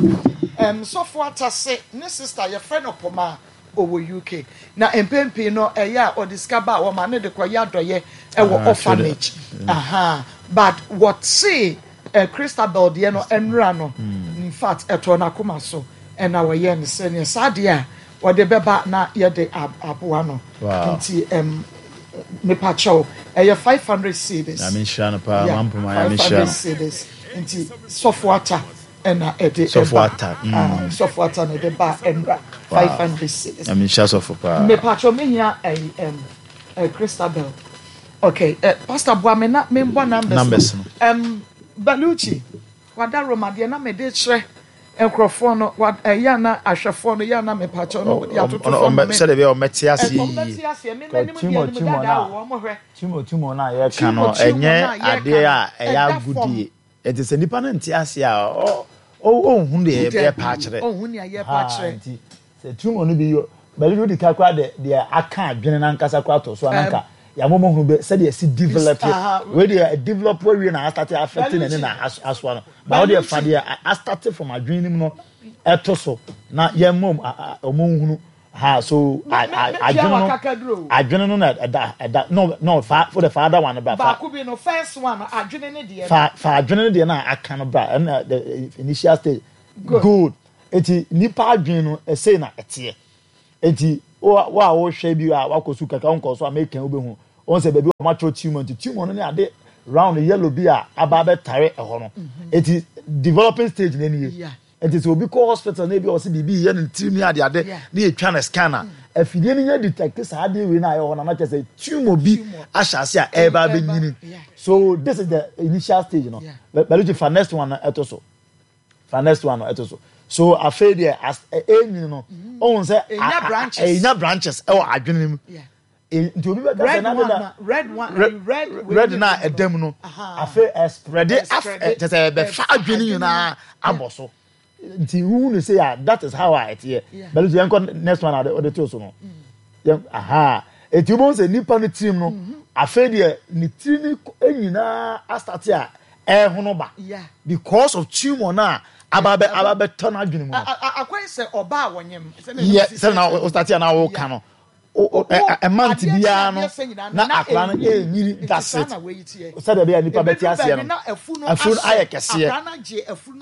ɛm Sɔfo Ata se ne sister yɛfrɛ no Poma ɔwɔ U K na mpɛn no ɛyɛ a ɔde sika ba a wɔma ne de kɔyɛ adɔyɛ ɛwɔ Ah, orphanage. Aha, but wɔte ɛ Christabel deɛ no ɛnura no in fact ɛtɔ n'akoma so ɛna wɔyɛ no sɛ nea saa deɛ a wɔde bɛba na yɛde ab- aboa no. Wow. Nti ɛm mepakyɛw ɛyɛ five hundred cedis. Nyame nhyira no paa, Yeah, mampoma, Nyame five nhyira hundred no. cedis. Nti Sɔfo Ata ɛna ɛde Sɔfo ɛba. Ata, mm. Ah, Sɔfo Ata na ɛde ba ɛnura Wow. five hundred cedis. Nyame nhyira sɔfo paa. Mepakyɛw mehia ɛyi ɛm ɛ Christabel. Okay, eh, Pastor boa me na membɔ numbers. Numbers no. Um, Baluchi, wada Roma deɛ na mede kyerɛ nkurɔfoɔ no, wa ɛyɛ na ahwɛfoɔ no, yɛ na mepakyɛw no, wɔde atoto fam me. Sɛdeɛ ɛbɛyɛ a ɔmmɛte aseɛ Ɛ, ɔmmɛte yie. aseɛ, me Ka m'anim deɛ Timo, anim Timo dada na wɔ wɔn hwɛ. Timo, Timo na yɛka Timo, no, Timo ɛnyɛ na yɛka adeɛ no, a ɛyɛ ɛda fam. agodie. Ɛnti sɛ nipa no nte aseɛ a, ɔ, Ɔnhu deɛ yɛpa akyerɛ. Ɔnhu nea yɛpa akyerɛ. Nti sɛ tumor no bi yɔ bɛlɛ no di ka koraa deɛ deɛ aka adwene n'ankasa koraa to so ananka yàmɔ hu bɛ sɛdeɛ si develop wei deɛ develop awie na astart affect n'ani na asoa no ba ɔdeɛ fa deɛ astart from adwene nim no ɛto so na yɛn mɔ ɔmo nhunu ha. So adwene no adwene no na ɛda ɛda no no fa fo de fa ada one bra fa baako bi no, first one, adwene ne deɛ. Fa fa adwene ne deɛ na aka no bra, ɛna the initial stage. Good. Eti nipa adwene no ɛsɛ na ɛteɛ. Eti wo a wɔhwɛ bi a wakɔ su kakra nkɔ so a meka wo bɛhu wɔn sɛ baabi wɔn atwerɛ tumor. Nti tumor no ne ade round yellow bi a aba abɛtare ɛhɔ no. Eti developing stage na nie. Nti sɛ obi kɔ hospital na ebi a ɔsɛ biribi yɛ ne tirim ne ade ade ne yɛtwa ne scan a, afidie no nyɛ detect saa adeɛ wei na ayɛ hɔ na na kyerɛ sɛ tumor bi ahyɛ ase a ɛreba abɛnyini. So this is the initial stage no. Bɛlɛgye fa next one no ɛto so, fa next one no ɛto so. So afei deɛ as ɛnyini no, ɔhun sɛ ɛnya branches ɛwɔ adwene mu. Nti obi bɛka sɛ na na red one, red. Red na ɛda mu no, afei ɛspread af kyɛ sɛ ɛbɛfa adwene nyinaa abɔ so. Nti huhu ne say ah, that is how a ɛteɛ. Bɛlɛ yɛn kɔ next one a ɔde to so no yɛn aha. Eti wobɛhu sɛ nipa no tirim no, afei deɛ ne tiri ne nyinaa astart a ɛhono ba because of tumor na aba bɛ aba bɛtɔ n'adwene mu no. Akwan sɛ ɔbaa wɔnyem. Yɛ sɛ na o start a na ɔka no ɛmant biara no na akwaraa no ɛnyiri. That's it. Sɛdeɛ ɛbɛyɛ nipa bɛte aseɛ no, afuro no ayɛ kɛseɛ.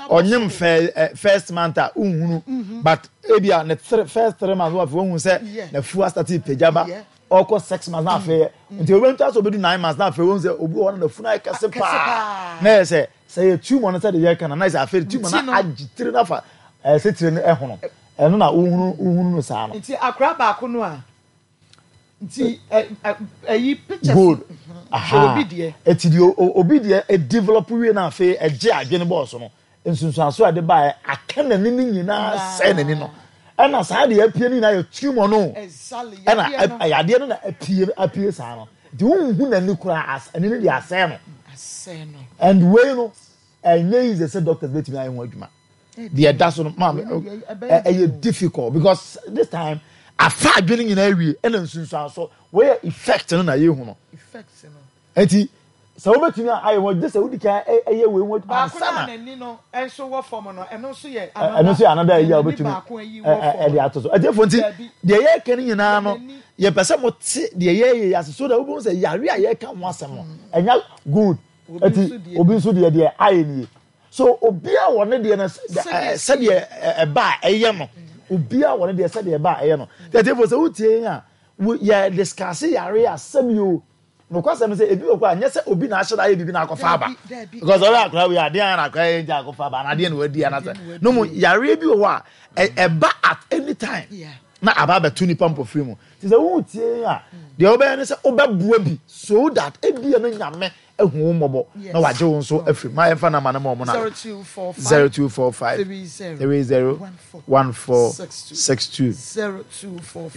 Ɔnyem fɛ first month a nhunu, but ebia ne three first three months wɔn afei wɔn hu sɛ n'afuo astart pagya ba. Ɔkɔ six months na afei nti obi nto aso obi du nine months na afei wɔn sɛ obi wɔ hɔ na n'afuo no ayɛ kɛse paa na yɛ sɛ sɛ yɛ tumor no sɛ de yɛ ka na na yɛ sɛ afei tumor no agye tiri nafa ɛsɛ tiri no ɛhono, ɛno na wohunu wohunu no saa no. Nti akora baako no a nti ɛyi pictures. Good. Hwɛ obi deɛ. Eti deɛ obi deɛ ɛdevelop wie na afei ɛgye adwene bɔɔso no, nsunsuanso a ɛde baeɛ aka n'ani no nyinaa sɛɛ n'ani no, ɛna saa deɛ apue no nyinaa yɛ tumor no. Ɛna yadeɛ no na apue apue saa no. Nti wohu n'ani koraa, ani no deɛ asɛe no. And wei no ɛnyɛ easy sɛ doctors bɛtumi ayɛ ho adwuma. Deɛ ɛda so no, maame, ɛyɛ difficult because this time afa adwene nyinaa awie, ɛna nsunsuanso wɔyɛ effect no na yɛhu no. Nti sɛ wobɛtumi ayɛ ho gye sɛ wodi kan ɛyɛ wei ho ansa na n'ani no nso wɔ fam no, ɛno nso yɛ ɛno nso yɛ another ɛyi a wobɛtumi ɛde ato so. Ɛtiɛfo, nti deɛ yɛreka no nyinaa no, yɛpɛ sɛ mote deɛ yɛyɛ yɛ ase so that wobɛhu sɛ yare a yɛreka ho asɛm no ɛnya good. Ɛti obi nso deɛ deɛ ayɛ nie. So obiara wɔ ne deɛ no sɛdeɛ ɛba a ɛyɛ no, obiara wɔ ne deɛ sɛdeɛ ɛba a ɛyɛ no. Ɛtiɛfo, sɛ wotie yɛn a yɛ discuss yare asɛm yi o, nokwasɛm sɛ ebi wɔ kɔ a nyɛ sɛ obi na ahyɛ da ayɛ biribi na akɔfa aba, because ɔyɛ akora wei adeɛ ayɛ na akora yɛ nti akɔfa aba na adeɛ na wadi anasɛ no mu. Yareɛ bi wɔ hɔ a ɛba at any time na aba abɛto nipa mpɔfiri mu. Ti sɛ wotie a, deɛ wobɛyɛ ne sɛ wobɛboa bi so that ebia no Nyame ehu wo mmɔbɔ na wagye wo nso afiri mu. Ayɛmfa nama no ma ɔmo na zero two four five three zero one four six two, zero two four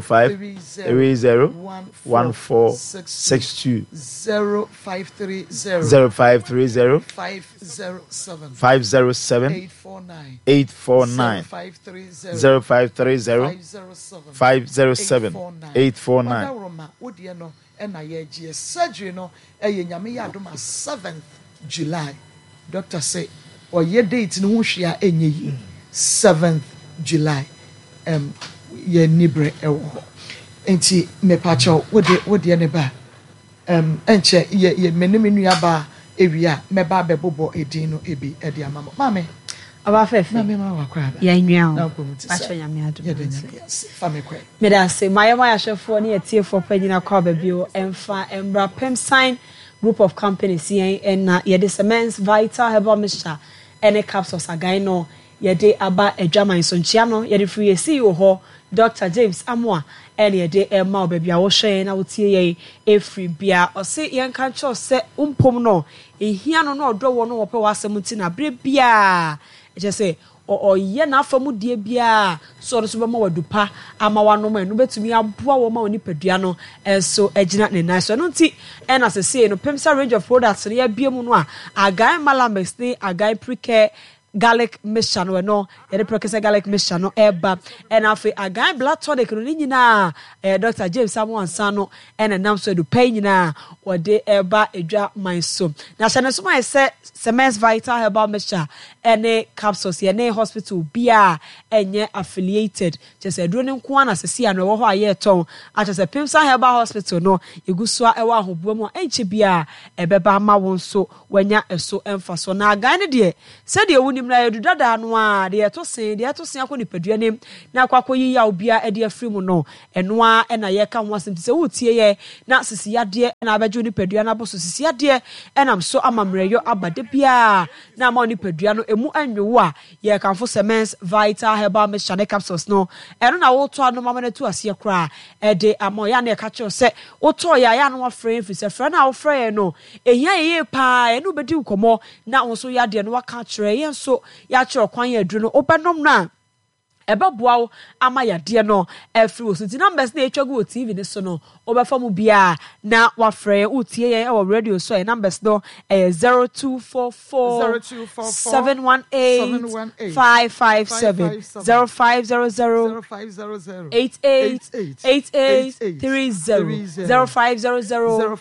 five three zero one four six two, zero five three zero zero five three zero five zero seven five zero seven eight four nine eight four nine, five three zero zero five three zero five zero seven five zero seven eight four nine. Ɔdawuroma wodeɛ no ɛna yɛgyeɛ surgery no ɛyɛ Nyame yɛ adom a seventh July. Doctor sɛ ɔyɛ date no ho hwee a ɛnyɛ yie. seventh July um, yɛ nibrɛ ɛwɔ hɔ. Nti mepakyɛw, wode wodeɛ ne ba um, ɛnkyɛ yɛ yɛ me ne me nua baa ewie a mɛba abɛbobɔ edin no ebi ɛde ama mo. Maame Ɔba fɛfɛ. Maame, ma wakɔ aba. Yɛn nua Na o. nkɔm ti Pakyɛ sɛ Nyame adom. Yɛde Ase. Nyame ase fa me kɔ. Meda ase. Mayɛ ma yɛahwɛfoɔ ne yɛtiefoɔ pa nyina kɔ aba bio. Ɛmfa mmra Pemsan Group of Companies yɛn ɛna yɛde Cements Vital Herbal Mixture ɛne capsules agan no yɛde aba adwaman so. Nkyea no yɛde firi yɛ C E O hɔ, Doctor James Amoa, ɛne yɛde ɛma wo baabi a wohwɛ yɛn na wotie yɛn ɛfiri bia. Ɔse yɛnka nkyerɛw sɛ wompom no ɛhia no na ɔdɔ wɔ no wɔpɛ w'asɛm nti na berɛ biaa ɛkyɛ sɛ ɔyɛ n'afa mu deɛ biara so ɔno nso bɛma wadu pa ama wanom. Ɛno bɛtumi aboa wɔn ma wɔn nipadua no nso gyina ne nan so. Ɛno nti ɛna sɛsei no Pemsa range of products no yɛabie mu no a, Agan Malamix ne Agan Precare. garlic mixture no, ɛno yɛde prɛkɛsɛ garlic mixture no ɛba. Ɛna afei Agan blood tonic no ne nyinaa ɛyɛ Doctor James Amoansa no ɛna nam so adupɛ yi nyinaa wɔde ɛba edwa man so. Na hyɛ ne nso ma yɛ sɛ Semens Vital Herbal Mixture ɛne capsules yɛne hospital biara ɛnyɛ affiliated. Kyerɛ sɛ aduro no nko ara na sɛsi ano ɛwɔ hɔ a yɛretɔn. Akyerɛ sɛ Pimsa Herbal Hospital no yɛgu so a ɛwɔ ahoboa mu a ɛnkyɛ biara ɛbɛba ama wo nso wanya ɛso mfasoɔ. Na agan no deɛ sɛdeɛ wonim no ayɛ du dadaa no ara, deɛ ɛto sen deɛ ɛto sen akɔ nipadua nim na akɔ akɔyi yaw biara de afiri mu no, ɛno ara na yɛreka ho asɛm. Nti sɛ woretie yɛ na sisi yadeɛ na abɛgye wo nipadua no abɔ so, sisi yadeɛ ɛnam so ama mmerɛyɔ aba da biara na ama wo nipadua no emu anwo a, yɛrekamfo Semens Vital Herbal Mixture ne capsules no. Ɛno na wotɔ anom ama no atu aseɛ koraa ɛde ama wo. Yɛ a na yɛka kyerɛ wo sɛ wotɔɔ yɛ a, yɛ a na woafrɛ yɛn, firi sɛ frɛ no a wofrɛ yɛn no ɛhia yɛn yie paa. Yɛne wo bɛdi nkɔmmɔ na wo nso yadeɛ no woaka akyerɛ yɛn, nso yɛakyerɛ ɔkwan yɛ aduro no wobɛnom no a ɛbɛboa wo ama yadeɛ no afiri wo so. Nti numbers na ɛtwa gu wɔ T V no so no, wobɛfa mu biara na wafrɛ yɛn. Wotie yɛn wɔ radio so a, yɛn numbers no ɛyɛ zero two four four seven one eight five five seven, zero five zero zero eight eight eight eight three zero, zero five zero zero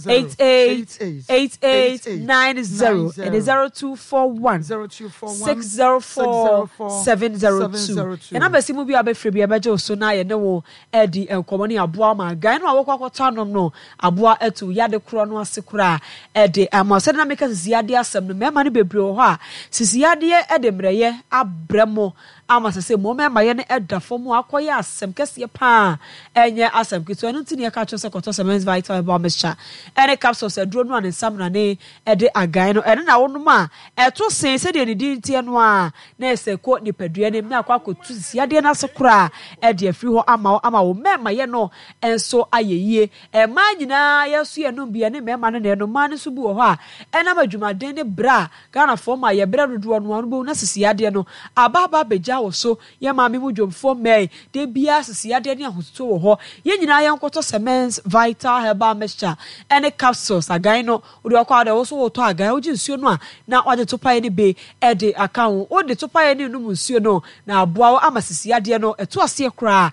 eight eight eight eight nine zero, ɛne zero two four one six zero four seven zero two. Yɛn numbers yi mu bi a wobɛfrɛ bi a ɛbɛgye wo so na yɛne wo adi nkɔmmɔ ne aboa ma agan no a wɔkɔ akɔtɔ anom no aboa atu yade korɔ no ase koraa ɛde ama. Sɛdeɛ na meka sisi yadeɛ asɛm no, mmarima no bebree wɔ hɔ a sisi yadeɛ de mmerɛyɛ abrɛ mo ama sɛ sɛ mo mmarima yɛ no ɛda fam a akɔyɛ asɛm kɛseɛ paa, ɛnyɛ asɛm ketewa. Ɛno nti ne yɛka kyerɛ sɛ kɔtɔ Semens Vital Herbal Mixture ɛne capsules aduro no a ne nsa mmerane ɛde agan no, ɛno na wonom a ɛto sen sɛdeɛ ne din teɛ no a, na ɛsɛ kɔ nipadua no mu na akɔ akɔtu sisi yadeɛ no ase koraa ɛde afiri hɔ ama wo, ama wo mmarima yɛ no nso ayɛ yie. Mmaa nyinaa yɛn nso yɛnom bi, ɛne mmarima no na ɛnom. Mmaa no nso bi wɔ hɔ a ɛnam adwumaden ne berɛ a Ghanafoɔ ma yɛbrɛ dodoɔ no ano bɛhu na sisi yadeɛ no aba aba abɛgya wɔ so. Yɛn maame mu dwomfoɔ mmaa yi, da biara sisi yadeɛ ne ahotutuo wɔ hɔ. Yɛn nyinaa yɛnkɔtɔ Semens Vital Herbal Mixture ɛne capsules agan no. Wode ɔkɔ a deɛ wo nso wotɔ agan, wogye nsuo no a na wagye topaeɛ no bi de aka ho. Wode topaeɛ no nom nsuo no na aboa wo ama sisi yadeɛ no ɛto aseɛ koraa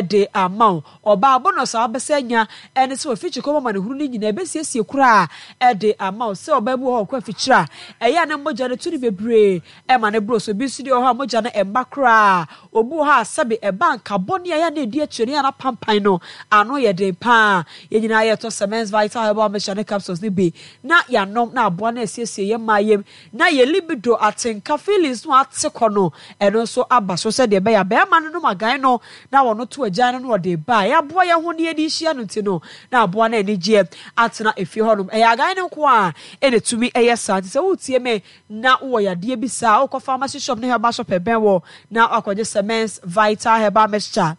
de ama wo. Ɔbaa bonus a wabɛsɛ anya ɛne sɛ wafikyi kɔm amanehunu no nyinaa ɛbɛsiesie koraa de ama wo. Sɛ ɔbaa bi wɔ hɔ ɔkɔ afikyire a, ɛyɛ a na mogya no tu no bebree ɛma no boro so. Obi nso deɛ wɔ hɔ a mogya no ɛmma koraa. Obi wɔ hɔ a sɛbe ɛba nka bɔne a ɛyɛ a na ɛdi akyire no yɛ a na pampan no ano yɛ den paa. Yɛn nyinaa yɛtɔ Semens Vital Herbal Mixture ne capsules no bi na yɛanom na aboa no asiesie yɛn mmaa yam na yɛn libido atenka feelings no ate kɔ no ɛno nso aba so sɛdeɛ ɛbɛyɛ a bɛrima no nom agan no na wɔno to agyan no na ɔde ba a yɛaboa yɛn ho ne yɛde hyia no nti no na aboa no anigyeɛ atena efie hɔnom. Ɛyɛ agan no nko a ɛna ɛtumi ɛyɛ saa. Nti sɛ woretie me na wowɔ yadeɛ bi saa, wokɔ pharmacy shop ne herbal shop ɛbɛn wɔ na wakɔgye Semens Vital Herbal Mixture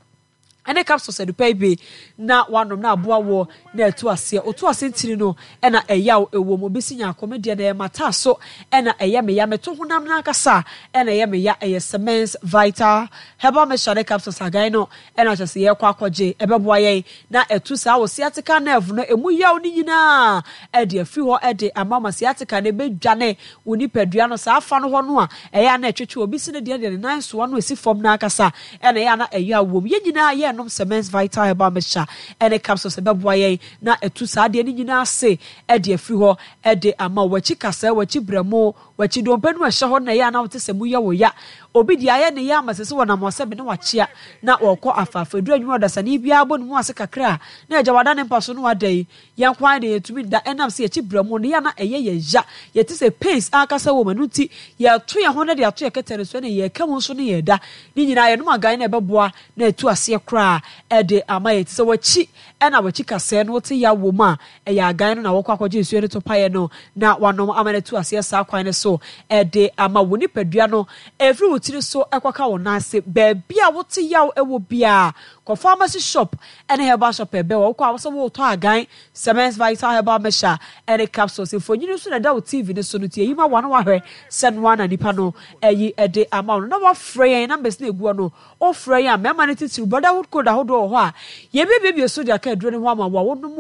ɛne capsules adupa yi bi na wanom na aboa wɔ na ɛto aseɛ. Oto ase ntini no ɛna ɛyaw ɛwɔ mu. Obi si nya akɔme deɛ na ɛyɛ mata so ɛna ɛyɛ me ya, meto honam no ankasa ɛna ɛyɛ me ya. Ɛyɛ Semens Vital Herbal Mixture ne capsules agan no ɛna kyerɛ sɛ yɛkɔ akɔgye ɛbɛboa yɛn na ɛtu saa wɔ sciatica nerve no emu yaw no nyinaa ɛde afiri hɔ ɛde ama ma sciatica no ɛbɛdwane wo nipadua no saa afa no hɔ no a ɛyɛ a na ɛtwetwe obi si ne deɛ deɛ ne nan soa no esi fam no ankasa ɛna ɛyɛ a na ɛyɛ a wom. Yɛn nyinaa yɛnom Semens Vital Herbal Mixture ɛne capsules ɛbɛboa yɛn na ɛtu saa adeɛ no nyinaa ase ɛde afiri hɔ ɛde ama wo. W'akyi kasɛɛ, w'akyi brɛmo, w'akyi dompe no ɛhyɛ hɔ na ɛyɛ a na wote sɛ mu yɛ wo ya. Obi deɛ ayɛ ne ya ama sɛ sɛ wɔnam ɔsɛbe ne wakyea na wɔkɔ afaafa. Ɛduru anwummerɛ ɔdasani biara bɔ ne mu ase kakra a na agya wada ne mpa so na wada yi. Yɛn nko ara deɛ yɛntumi nda ɛnam sɛ yɛkyi brɛmo no yɛ a na ɛyɛ yɛn ya. Yɛte sɛ pains ankasa wɔ mu, ɛno nti yɛto yɛn ho na de ato yɛn kɛtɛ no so ɛne yɛka mu nso ne yɛda. Ne nyinaa yɛnom agan na ɛbɛboa na ɛtu aseɛ koraa ɛde ama yɛn. Nti sɛ w'akyi ɛna w'akyi kasɛɛ no wote yaw wɔ mu a, ɛyɛ agan no na wɔkɔ akɔgye nsuo no to paeɛ no na wanom ama no atu aseɛ saa kwan no so ɛde ama wo nipadua no ɛfiri wo tiri so ɛkɔka wo nan ase. Baabi a wote yaw ɛwɔ biara, Kɔ pharmacy shop ne herbal shop a ɛbɛn wo. Wokɔ a, wo sɛ woretɔ Agan, Semens Vital Herbal Mixture ne capsules. Mfonini nso na ɛda wo T V no so no, nti eyi ma wo a na woahwɛ sɛ noa na nipa no ayi de ama wo no. Na woafrɛ yɛn, numbers no a egu hɔ no, wofrɛ yɛn a, mmarima no titiriw, Brotherhood code ahodoɔ wɔ hɔ a yɛbɛbuebue so de aka aduro no ho ama wo a wonom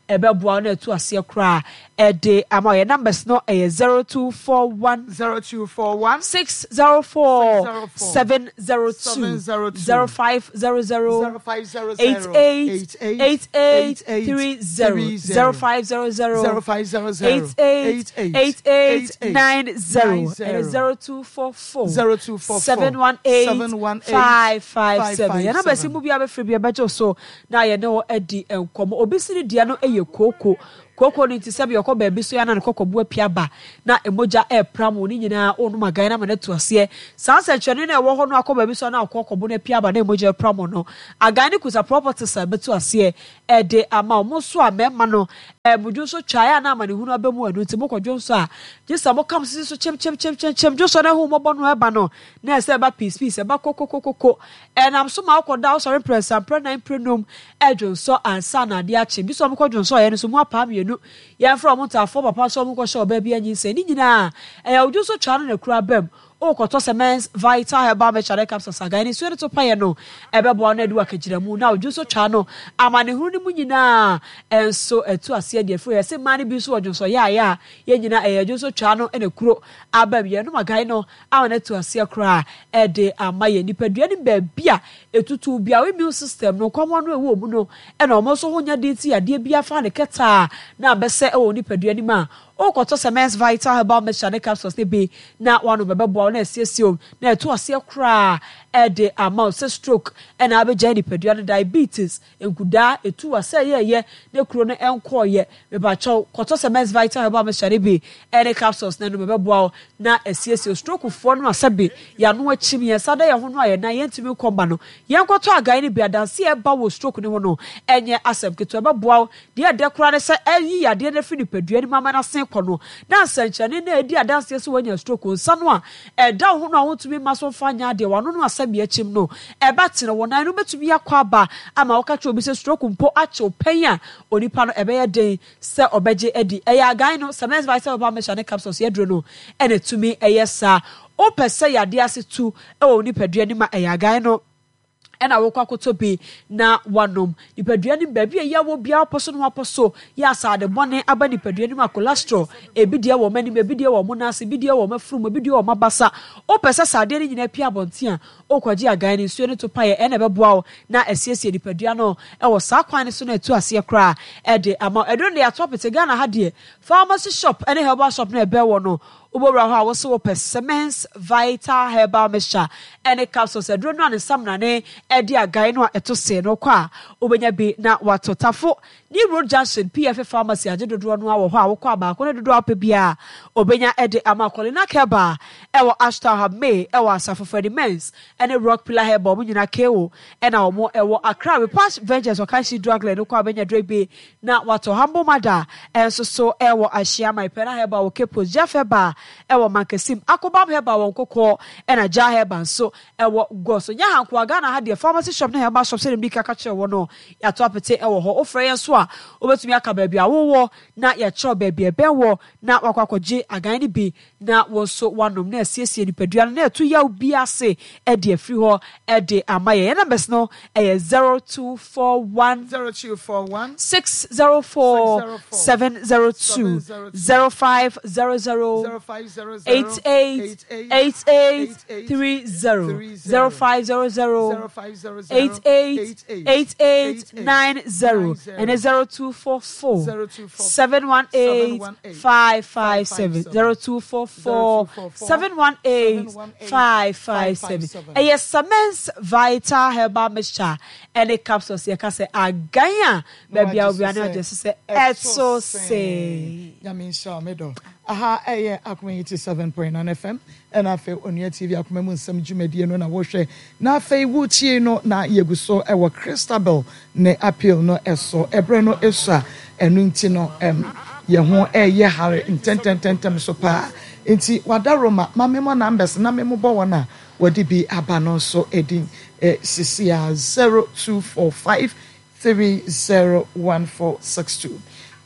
a ɛbɛboa wo na atu aseɛ koraa de ama wo. Yɛn numbers no yɛ zero two four one zero two four one six zero four six zero four seven zero two seven zero two zero five zero zero zero five zero eight zero eight eight eight eight eight eight eight three zero three zero zero five zero zero zero five zero zero eight eight eight eight eight eight eight eight nine zero nine ɛne zero zero two four four zero two four seven four one eight seven one eight five five five seven. five Yɛn numbers yi seven. mu biara bɛfrɛ bi ɛbɛgye wo so na yɛne wo adi nkɔmmɔ. Obi si ne deɛ no yɛ kooko. Kooko no nti sɛbi ɔkɔ baabi so yɛ na ne kɔkɔbo apia ba na mogya ɛrepram wo ne nyinaa wonom agan na ama no atu aseɛ. Saa nsɛnkyerɛnne no a ɛwɔ hɔ no akɔ baabi so na akɔkɔbo no apia aba na mogya ɛrepram wo no, agan no kuta properties a ɛbɛtu aseɛ ɛde ama wo. Mo nso a mmarima no ɛɛ mo dwonso twa ɛyɛ a na amanehunu aba mu, ɛno nti mokɔ dwonso a gye sɛ mokam sisi so kyem kyem kyem kyem kyem dwonso no ahu mmɔbɔ no ɛba no na ɛsɛ ɛba piece piece, ɛba kokokokoko. Ɛnam so ma wokɔda, wosɔre mprɛnsa, mprɛnan, mprɛnum ɛdwonsɔ ansa na adeɛ akye. Bi sɛ ɔmokɔ dwonsɔ yɛ no so mu apaa mmienu, yɛmfrɛ ɔmo ntaafoɔ papa nso ɔmo nkɔhyɛ ɔbaa bi anyinsɛn ne nyinaa ɛyɛ wo dwonso twa no na kura bam. Wokɔtɔ Semens Vital Herbal Mixture ne capsules agan ne nsuo no to payɛ no, ɛbɛboa no adu akagyina mu na wo dwonso twa no amanehunu no mu nyinaa ɛnso ɛtu aseɛ deɛ firi yɛ sɛ mmaa no bi nso wɔ dwonso yɛayɛ a yɛn nyinaa ɛyɛ dwonso twa no ɛna kuro aba mu. Yɛnom agan no ama no atu aseɛ koraa ɛde ama yɛn nipadua no baabi a ɛtutu bia wo immune system no nkɔmmɔ no ɛwɔ mu no ɛna ɔmo nso ho nya den ti yadeɛ bi afa ne kɛtaa na abɛsɛ ɛwɔ nipadua no mu a, wokɔtɔ Semens Vital Herbal Mixture ne capsules ne bi na wano bɛbɛboa wo na asiesie wo na ɛto aseɛ koraa ɛde ama wo sɛ stroke ɛna abɛgyae nipadua no, diabetes, nkudaa ɛtu wa sɛ ɛyɛɛyɛ ne kuro no ɛnkɔɔyɛ. Mepakyɛw, kɔtɔ Semens Vital Herbal Mixture ne bi ɛne capsules na ɛno bɛbɛboa wo na asiesie stroke foɔ no a sɛbe yɛano akyim yɛn nsa da yɛn ho no a yɛn nan yɛntumi nkɔmba no. Yɛnkɔtɔ agan no bi. Adanse a ɛba wɔ stroke ne ho no ɛnyɛ asɛm ketewa. Ɛbɛboa wo deɛ ɛdɛ koraa ne sɛ ɛyi yadeɛ no afiri nipadua no mu ama no asen kɔ no na nsɛnkyerɛnne na ɛdi adanseɛ sɛ woanya stroke, nsa no a ɛda wo ho no a wontumi mma so mfa nyɛ adeɛ, wano no asɛm akyim no ɛba tene, wo nan no wobɛtumi akɔ aba ama woka kyerɛ obi sɛ stroke mpo akyew pɛn a, onipa no ɛbɛyɛ den sɛ ɔbɛgye adi. Ɛyɛ agan no, Semens Vital Herbal Mixture ne capsules yɛduro no ɛna tumi ɛyɛ saa. Wopɛ sɛ yadeɛ ase tu ɛwɔ wo nipadua no mu a, ɛyɛ agan no ɛna wokɔ akɔtɔ bi na wanom. Nipadua no baabi a ɛyɛ wɔ biara wopɔ so no wapɔ so yɛ asade bɔne aba nipadua no mu a, cholesterol ebi deɛ wɔ m'anim, ebi deɛ wɔ mo nan ase, ebi deɛ wɔ m'afurum, ebi deɛ wɔ m'abasa, wopɛ sɛ saa adeɛ no nyinaa pia abɔnten a, wokɔgye agan no nsuo no to paeɛ ɛna ɛbɛboa wo na asiesie nipadua no ɛwɔ saa kwan no so na ɛtu aseɛ koraa ɛde ama. Ɛduro no deɛ ato apete Ghana ha deɛ, pharmacy shop ɛne herbal shop no ɛbɛn wɔ no, wobɛwura hɔ a wɔsɛ wɔpɛ Semens Vital Herbal Mixture ɛne capsules aduro no a ne nsamnane ɛde agan no a ɛto see no kɔ a, wobɛnya bi na wato. Tafo ne Road Junction P F Pharmacy agye dodoɔ no a wɔ hɔ a, wokɔ a baako ne dodoɔ a wopɛ biara obɛnya ɛde ama. Kɔlina Herbal ɛwɔ Ashtown ha, May ɛwɔ Asafo, Freddy Mens ɛne Rock Pillar Herbal, ɔmo nyinaa ko ɛna ɔmo ɛwɔ Accra Repash Ventures Ɔkanhyi Drug Line no kɔ a, wobɛnya duro bi na watɔ. Humble Mother ɛnso so ɛwɔ Ahyiama, Pɛna Herbal wɔ Cape Coast, Jeff Herbal ɛwɔ Mankasim, Akobam Herbal wɔ Nkɔkɔɔ, ɛna Gya Herbal nso ɛwɔ Gɔ so. Nyɛ hankoa, Ghana ha deɛ pharmacy shop ne herbal shop sɛdeɛ mdi kaka kyerɛ wɔ no, yɛato apete ɛwɔ hɔ. Wofrɛ yɛn so a, wobɛtumi aka baabi a wowɔ na yɛkyerɛw baabi a ɛbɛn wɔ na wakɔ akɔgye agan no bi na wɔn nso wanom na asiesie nipadua no na ɛto yaw bi ase ɛde afiri hɔ ɛde ama yɛn. Yɛn numbers no ɛyɛ zero two four one zero two four one six zero four seven zero two zero five zero zero zero five zero zero eight eight eight eight three zero zero five zero zero eight eight eight eight nine zero ɛne zero two four four seven one eight five five seven zero two four four seven one eight five five seven. Ɛyɛ Semens Vital Herbal Mixture ɛne capsules. Yɛka sɛ agan a baabi a obiara ne agye so sɛ ɛto se. Nyame nhyira wo, medɔ. Aha ɛyɛ Akoma eighty-seven point nine F M ɛna afei Onua T V, Akoma mu Nsɛm dwumadie no na wɔhwɛ na afei wotie no na yɛgu so ɛwɔ Christabel ne appeal no ɛso. Ɛberɛ no ɛso a ɛno nti no ɛm yɛn ho ɛyɛ hare ntɛntɛntɛntɛm so paa, nti wada Roma ma memmɔ numbers na memmobɔ wɔn a wɔde bi aba no nso edin eh, sisi a zero two four five three zero one four six two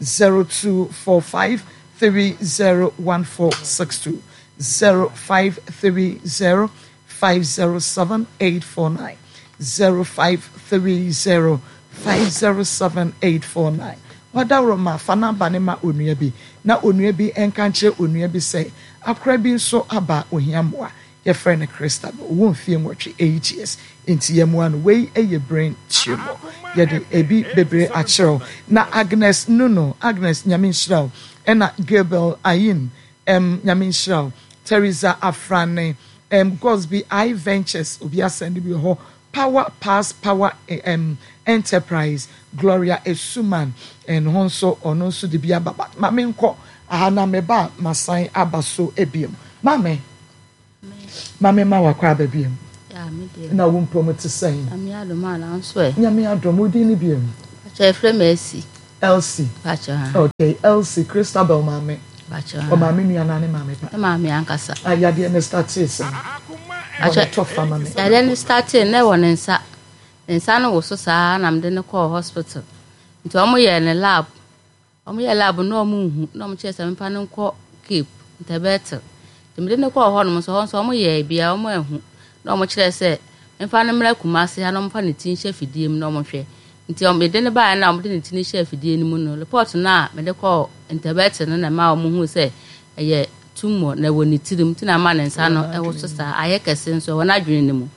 zero two four five three zero one four six two zero five three zero five zero seven eight four nine zero five three zero five zero seven eight four nine. Wadaworo ma fa namba ne ma onua bi na onua bi nka nkyerɛ onua bi sɛ akora bi nso aba ohia mmoa yɛfrɛ no Christabel ɔwɔ mfie nwɔtwe eight years nti yɛmmoa no wei yɛ brain tumor yɛde ebi bebree akyerɛw na Agnes Nuno Agnes nyame nhyira wo ɛna Gilbert Ayin ɛm nyame nhyira wo Teresa Afrane ɛm Gosby I Ventures obi asɛnde bi wɔ hɔ Power Pass Power um, Enterprise Gloria Esuman ɛno ho nso ɔno nso de bi aba ba ma menkɔ aha na meba a masan aba so ebiem maame maame ma wakɔ aba biem Ya, me deɛ. na wo mpom te sɛn Nyame adom a nanso ɛ. nyame adom wo din ne biem Pakyɛ efrɛ me Elsie. Elsie Pakyɛ ha. okay Elsie Christabel maame Pakyɛ ha. ɔmaame nua na ne maame pa Ne maame ankasa. ayadeɛ ne startee sɛn Pakyɛ bɔne tɔ fa ma me yadeɛ no startee na ɛwɔ ne nsa. Ne nsa no wo so saa na mede no kɔɔ hospital. Nti ɔmo yɛɛ ne lab. Ɔmo yɛɛ lab na ɔmo nhu na ɔmo kyerɛ sɛ memfa no nkɔ Cape Ntɛbɛtel. Nti mede no kɔɔ hɔnom nso hɔ nso ɔmo yɛɛ bia ɔmo anhu na ɔmo kyerɛ sɛ memfa no mmra Kumase ha na ɔmfa ne ti nhyɛ fidie mu na ɔmo hwɛ. Nti ɔmo mede no baeɛ na ɔmo de ne ti no hyɛɛ fidie no mu no report no a mede kɔɔ Ntɛbɛtel no na ɛma ɔmo huu sɛ ɛyɛ tumor na ɛwɔ ne tirim nti na ama ne nsa no ɛwɔ so saa ayɛ kɛse nso ɛwɔ n'adwene no mu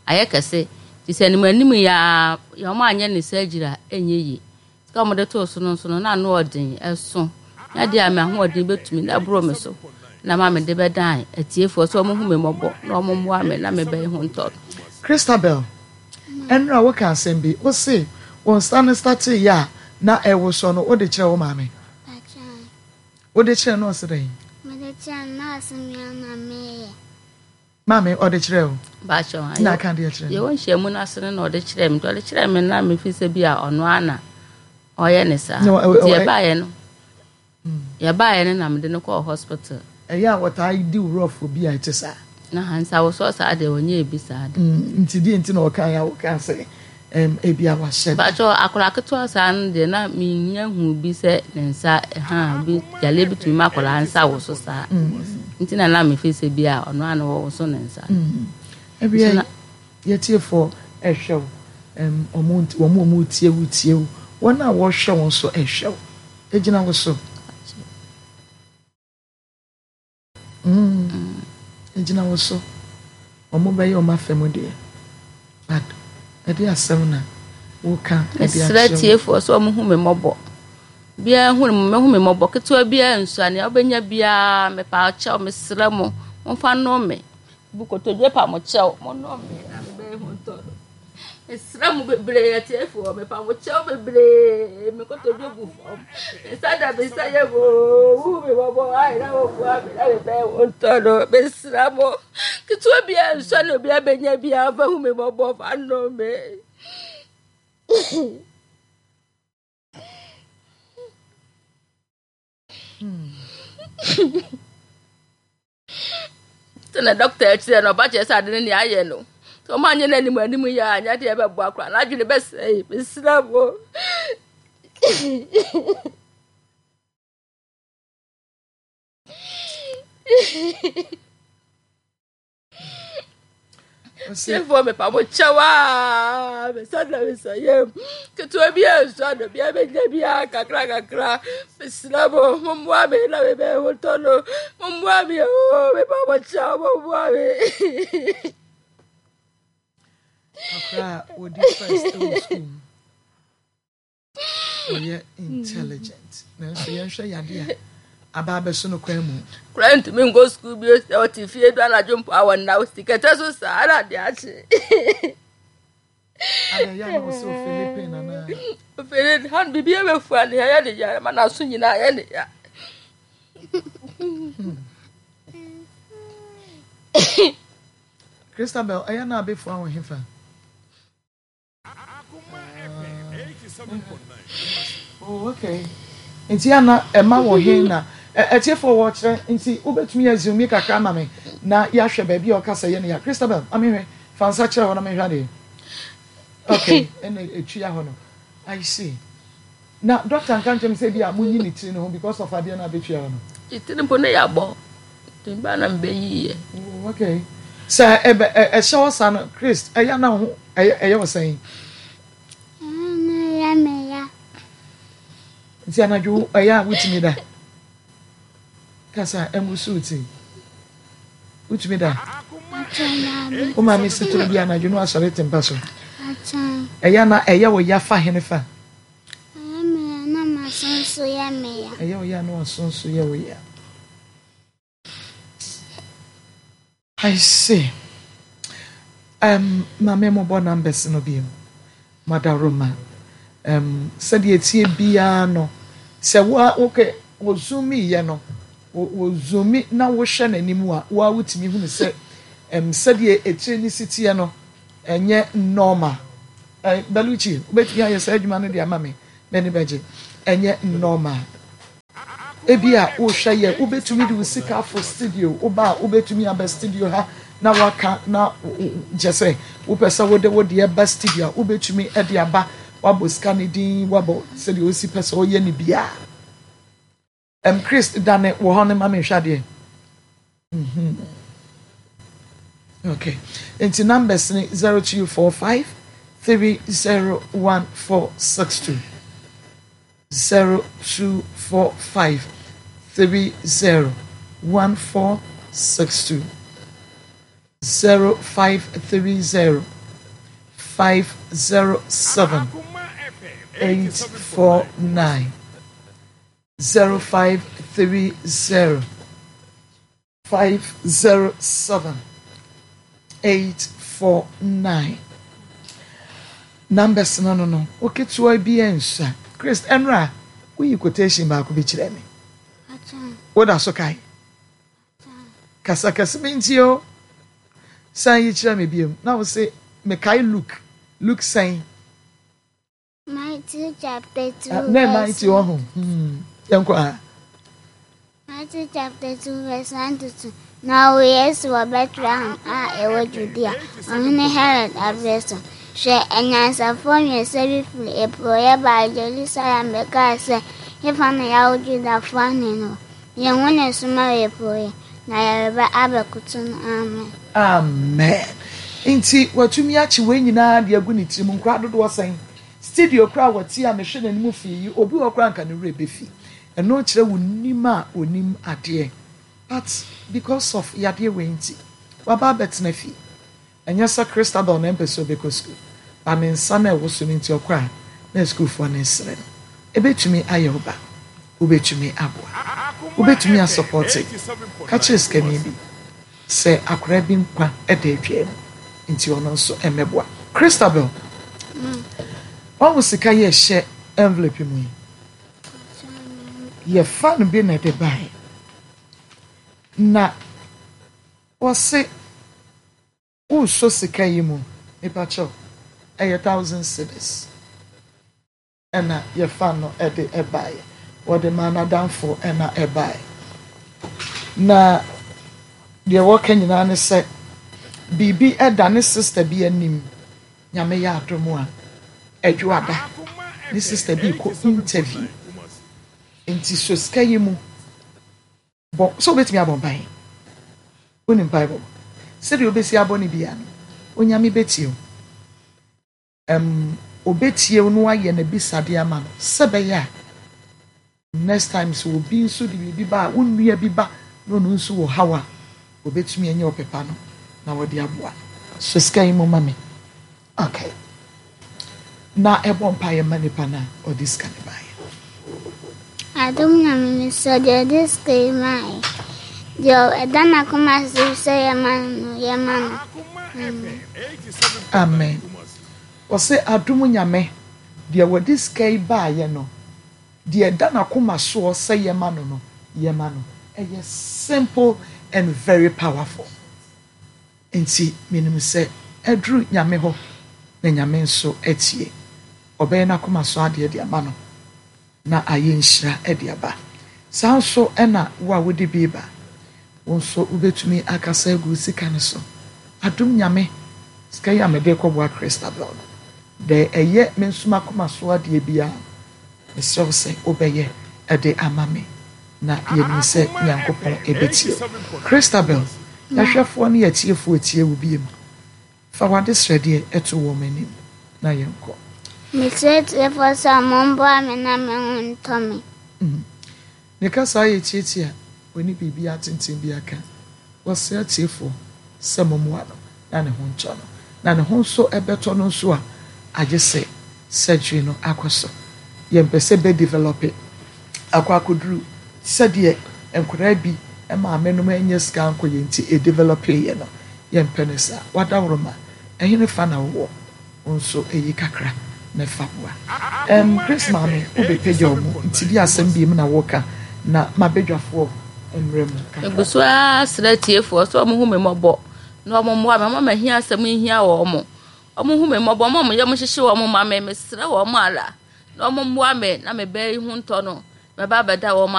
ayɛ kɛse nti sɛ anim anim yi a ɔmo anyɛ ne surgery a ɛnyɛ yie sika a ɔmo de too so no nso no na ano ɔden ɛso na deɛ a me ahoɔden bɛtumi na ɛboro me so na ma mede bɛdan atiefoɔ sɛ ɔmo hu me mmɔbɔ na ɔmo mmoa me na mebɛyɛ ho ntɔ Christabel ɛnura woka asɛm bi wo se wo nsa no startee yɛ a na ɛwo so no wode kyerɛ wo maame Pakyɛ wode kyerɛ no ɔse dɛn mede kyerɛ no na ɔse me na meyɛ. maame ɔde kyerɛ wo baakyɛ na aka deɛ kyerɛ no yɛwɔ nhyiamu no ase no na ɔde kyerɛ me nti ɔde kyerɛ me na mefi sɛ bi a ɔno ana ɔyɛ ne saa Na ɔ- ɔ- nti ɔ- yɛbaeɛ no yɛbaeɛ no na mede no kɔɔ hospital ɛyɛ a wɔtaa di wo rɔfo bi a ɛte saa na ha nsawosɔ saa deɛ wɔnyɛɛ bi saa de Mm, nti deɛ nti na ɔka yɛ a wɔka sɛ ɛm, ebi a wahyɛ da baakyɛ akwadaa ketewa saa no deɛ na menya hu bi sɛ ne nsa ha bi yale bi tumi ma akwadaa nsa wo so saa nti na na mefi sɛ bi a ɔno ana wɔwo so ne nsa ebia Nti na- yɛtiefoɔ ɛhwɛ wo ɛm, ɔmo nti- wɔn a ɔmo tie wo tie wo wɔn a wɔhwɛ wo nso ɛhwɛ wo egyina wo so Mm, egyina wo so ɔmo bɛyɛ ɔmo afɛ mu deɛ but ɛde asɛm na woka ɛde mesrɛ akyerɛ wo tiefoɔ sɛ ɔmo hu me mmɔbɔ biara hu me hu me mmɔbɔ ketewa biara nsua nea wobɛnya biara mepa kyɛw mesrɛ mo momfa nnome me bu kotodwe pa mo kyɛw monnome me na mebɛyɛ ho ntɔ no mesrɛ mo bebree atiefoɔ mepa mo kyɛw bebree me kotodwe gu fam me nsa da me nsa yɛ mo hu me mmɔbɔ ayɛ na wɔboa me na mebɛyɛ ho ntɔ no mesrɛ mo ketewa biara nsua nea obiara bɛnya biara mfa hu me mmɔbɔ fa nnome me sɛ na dɔkta akyerɛ no ɔba kyerɛ sɛ ade no nea ayɛ no sɛ ɔma anyɛ no anim anim yɛ a anyɛ deɛ ɛbɛboa koraa n'adwene bɛsɛe mesrɛ mo Ɔse, tiefoɔ mepa mo kyɛw a mesa na mesa yam ketewa bi a nsu ano bia bɛnya biaa kakra kakra mesrɛ mo mommoa me na mebɛyɛ ho tɔ no mommoa me o mepa mo kyɛw mommoa me akora a wɔdi first ɛwɔ school mu ɔyɛ intelligent nanso yɛnhwɛ yade a aba abɛso no kwan mu kora ntumi nkɔ sukuu bio sɛ ɔte fie du anadwo mpo a wɔnna wo sikɛtɛ so saa na ade akye ada yɛ a na ɔsɛ ofele anaa ofere ha no biribi abɛfua ne ɛyɛ ne ya ma n'aso nyinaa yɛ ne ya Christabel ɛyɛ na abɛfua wo hefa oh okay nti ana ɛma wɔ he na Atiefoɔ wɔkyerɛ nti wobɛtumi azumi kakra ama me na yɛahwɛ baabi a ɔka sɛ yɛ no ya. Christabel, ma mehwɛ, fa nsa kyerɛ hɔ na mehwɛ adeɛ. Okay, ɛna ɛtua hɔ no. I see. Na doctor nka nkyɛm sɛ bi a monyi ne tiri no ho because of adeɛ no abɛtua hɔ no. Tiri mpo ne yɛabɔ. Nti ba na mebɛyiiɛ. Oh, okay. Sɛ ɛbɛ ɛhyɛ hɔ saa no, Chris, ɛyɛ na ho ɛyɛ ɛyɛ wɔ sɛn? Ɛna ɛyɛ me ya. Nti anadwo ɛyɛ a wotumi da? Kasa ɛngu so ti. Wotumi da? Wo maame si toro bi anadwo no asɔre te mpa so. Ɛyɛ na ɛyɛ wɔ ya fa hene fa? Ɛyɛ me ya na m'aso nso yɛ me ya. Ɛyɛ wɔ ya na w'aso nso yɛ wɔ ya. I see. Um, maame mo bɔ numbers no bi mu. Madaroma. Um, sɛdeɛ etie biara no, sɛ wo okay, wo zoom yɛ no, wo zoom na wohwɛ n'anim a, wo a wotumi hunu sɛ um, sɛdeɛ etire ne si teɛ no, ɛnyɛ normal. Eh, Belucci, wobɛtumi ayɛ saa adwuma no de ama me, m'ani bɛgye. Ɛnyɛ normal. Ebi a wohwɛ yɛ, wobɛtumi de wo sika afo studio, woba a wobɛtumi aba studio ha na waka na kyɛ sɛ wopɛ sɛ wode wo deɛ ba studio a, wobɛtumi de aba, wabɔ sika ne din, wabɔ sɛdeɛ osi pɛ sɛ ɔyɛ ne biara. Um, Chris dane wɔ hɔ no ma menhwɛ adeɛ. Mm-hmm. Okay. Nti numbers ne zero two four five three zero one four six two. zero two four five three zero one four six two zero five three zero five zero seven eight four nine zero five three zero five zero seven eight four nine. Numbers no no no oketewa bi nsa. Chris, ɛnra woyi quotation baako bi kyerɛ me. Woda so kae? Kasa kɛse mi nti o. San yi kyerɛ me biom. Na wo se mekae Luke. Luke sɛn? Matthew chapter two Na verse Matthew ɔho. Hmm. Yɛnkɔ a. Matthew chapter two verse one to two. Na ɔwoo Yesu wɔ Bethlehem a ɛwɔ Judea, ɔhene Herod aberɛ so. Hwɛ, anyansafoɔ mmiɛnsa bi firi apueeɛ baa Yerusalem bɛkaa sɛ, Hefa na yɛawo Judafoɔ hene no wɔ? Yɛahu ne nsoromma wɔ apueeɛ, na yɛreba abɛkoto no. Amen. Amen. Nti watumi akye wei nyinaa de agu ne tirim. Nkora dodoɔ sɛn? Studio koraa wɔte a mehwɛ n'anim fii yi, obi wɔ koraa nka ne werɛ bɛfi. Ɛno kyerɛ wo nim a onim adeɛ. But because of yadeɛ wei nti, waba abɛtena fie. Ɛnyɛ sɛ Christabel na ɛmpɛ sɛ ɔbɛkɔ sukuu, ba ne nsa na ɛwɔ so no nti ɔkɔ a na sukuufoɔ no resere no. Ɛbɛtumi ayɛ wo ba, wobɛtumi aboa, wobɛtumi asupporte. Ka kyerɛ sikani bi sɛ akwadaa bi nkwa da adwa mu nti ɔno nso mmɛboa. Christabel, wahu sika yi a ɛhyɛ envelope mu yi? Yɛfa no bi na ɛde baeɛ. Na wɔse wosɔ sika yi mu, nipa kyɛw, ɛyɛ thousand cedis. Ɛna yɛfa no ɛde ɛbaeɛ. Wɔde maa n'adamfo ɛna ɛbaeɛ. Na deɛ wɔka nyinaa ne sɛ biribi ɛda ne sister bi anim. Nyame yɛ adom a ɛdwoada. Ne sister bi kɔ interview. Nti sɔ sika yi mu. Bɔ sɛ wobɛtumi abɔ mpaeɛ. Wonim mpaebɔ. Sɛdeɛ wobɛsi abɔ no bia no, Onyame bɛtie wo. Um, obɛtie wo na wayɛ n'abisadeɛ ama no. Sɛ bɛyɛ a next time sɛ obi nso de biribi ba a, wo nua bi ba na ɔno nso wɔ haw a, obɛtumi anya ɔpepa no na wɔde aboa no. So sika yi mu ma me. Okay. Na ɛbɔ mpaeɛ ma nipa no a ɔde sika no baeɛ. Adom Nyame mesrɛ deɛ ɔde sika yi maeɛ. Deɛ ɛda n'akoma so sɛ yɛma no, yɛma no. Amen. Amen. Wɔsɛ adom Nyame deɛ wɔde sika yi baeɛ no, deɛ ɛda n'akoma soɔ sɛ yɛma no no, yɛma no. Ɛyɛ simple and very powerful. Nti menim sɛ ɛduru Nyame hɔ na Nyame nso atie. Ɔbɛyɛ n'akoma so adeɛ de ama no na ayɛ nhyira de aba. Saa nso na wo a wode bi reba, wo nso wobɛtumi akasa agu wo sika no so. Adom Nyame, sika yi a mede rekɔboa Christabel no, deɛ ɛyɛ me nso m'akoma so adeɛ biara no, mesrɛ wo sɛ wobɛyɛ de ama me, na yɛnim sɛ Nyankopɔn bɛtie wo. Christabel, yɛahwɛfoɔ ne yɛatiefoɔ tie wo biom. Fa w'adesrɛdeɛ to wɔn anim na yɛnkɔ. Mesrɛ atiefoɔ sɛ wɔmmoa me na me ho ntɔ me. Ne kasa yɛ tiatia, ɔnni biribiara tenten biara ka. Ɔsrɛ atiefoɔ sɛ mommoa no na ne ho ntɔ no. Na ne ho nso bɛtɔ no nso a, agye sɛ surgery no akɔ so. Yɛmpɛ sɛ bɛ develop akɔ akɔduru sɛdeɛ nkwadaa bi maamenom annya sika ankɔyɛ nti ɛdevelɔpeeɛ no. Yɛmpɛ no saa. W'adaworoma, ɛhene fa na wowɔ? Wo nso yi kakra na fa boa. Erm Grace maame wo bɛ pagya ɔmo nti di asɛm biem na wo ka na ma badwafoɔ mmrɛ mu kakra. Megu so ara srɛ atiefoɔ sɛ wɔn hu me mmɔbɔ na wɔn mmoa me, wɔn ma hia asɛm nhia wɔn, wɔn hu me mmɔbɔ, wɔn a wɔn yam hyehye wɔn ma me, mesrɛ wɔn ara na wɔn mmoa me na me ba yi ho ntɔ no, mɛba abɛda wɔn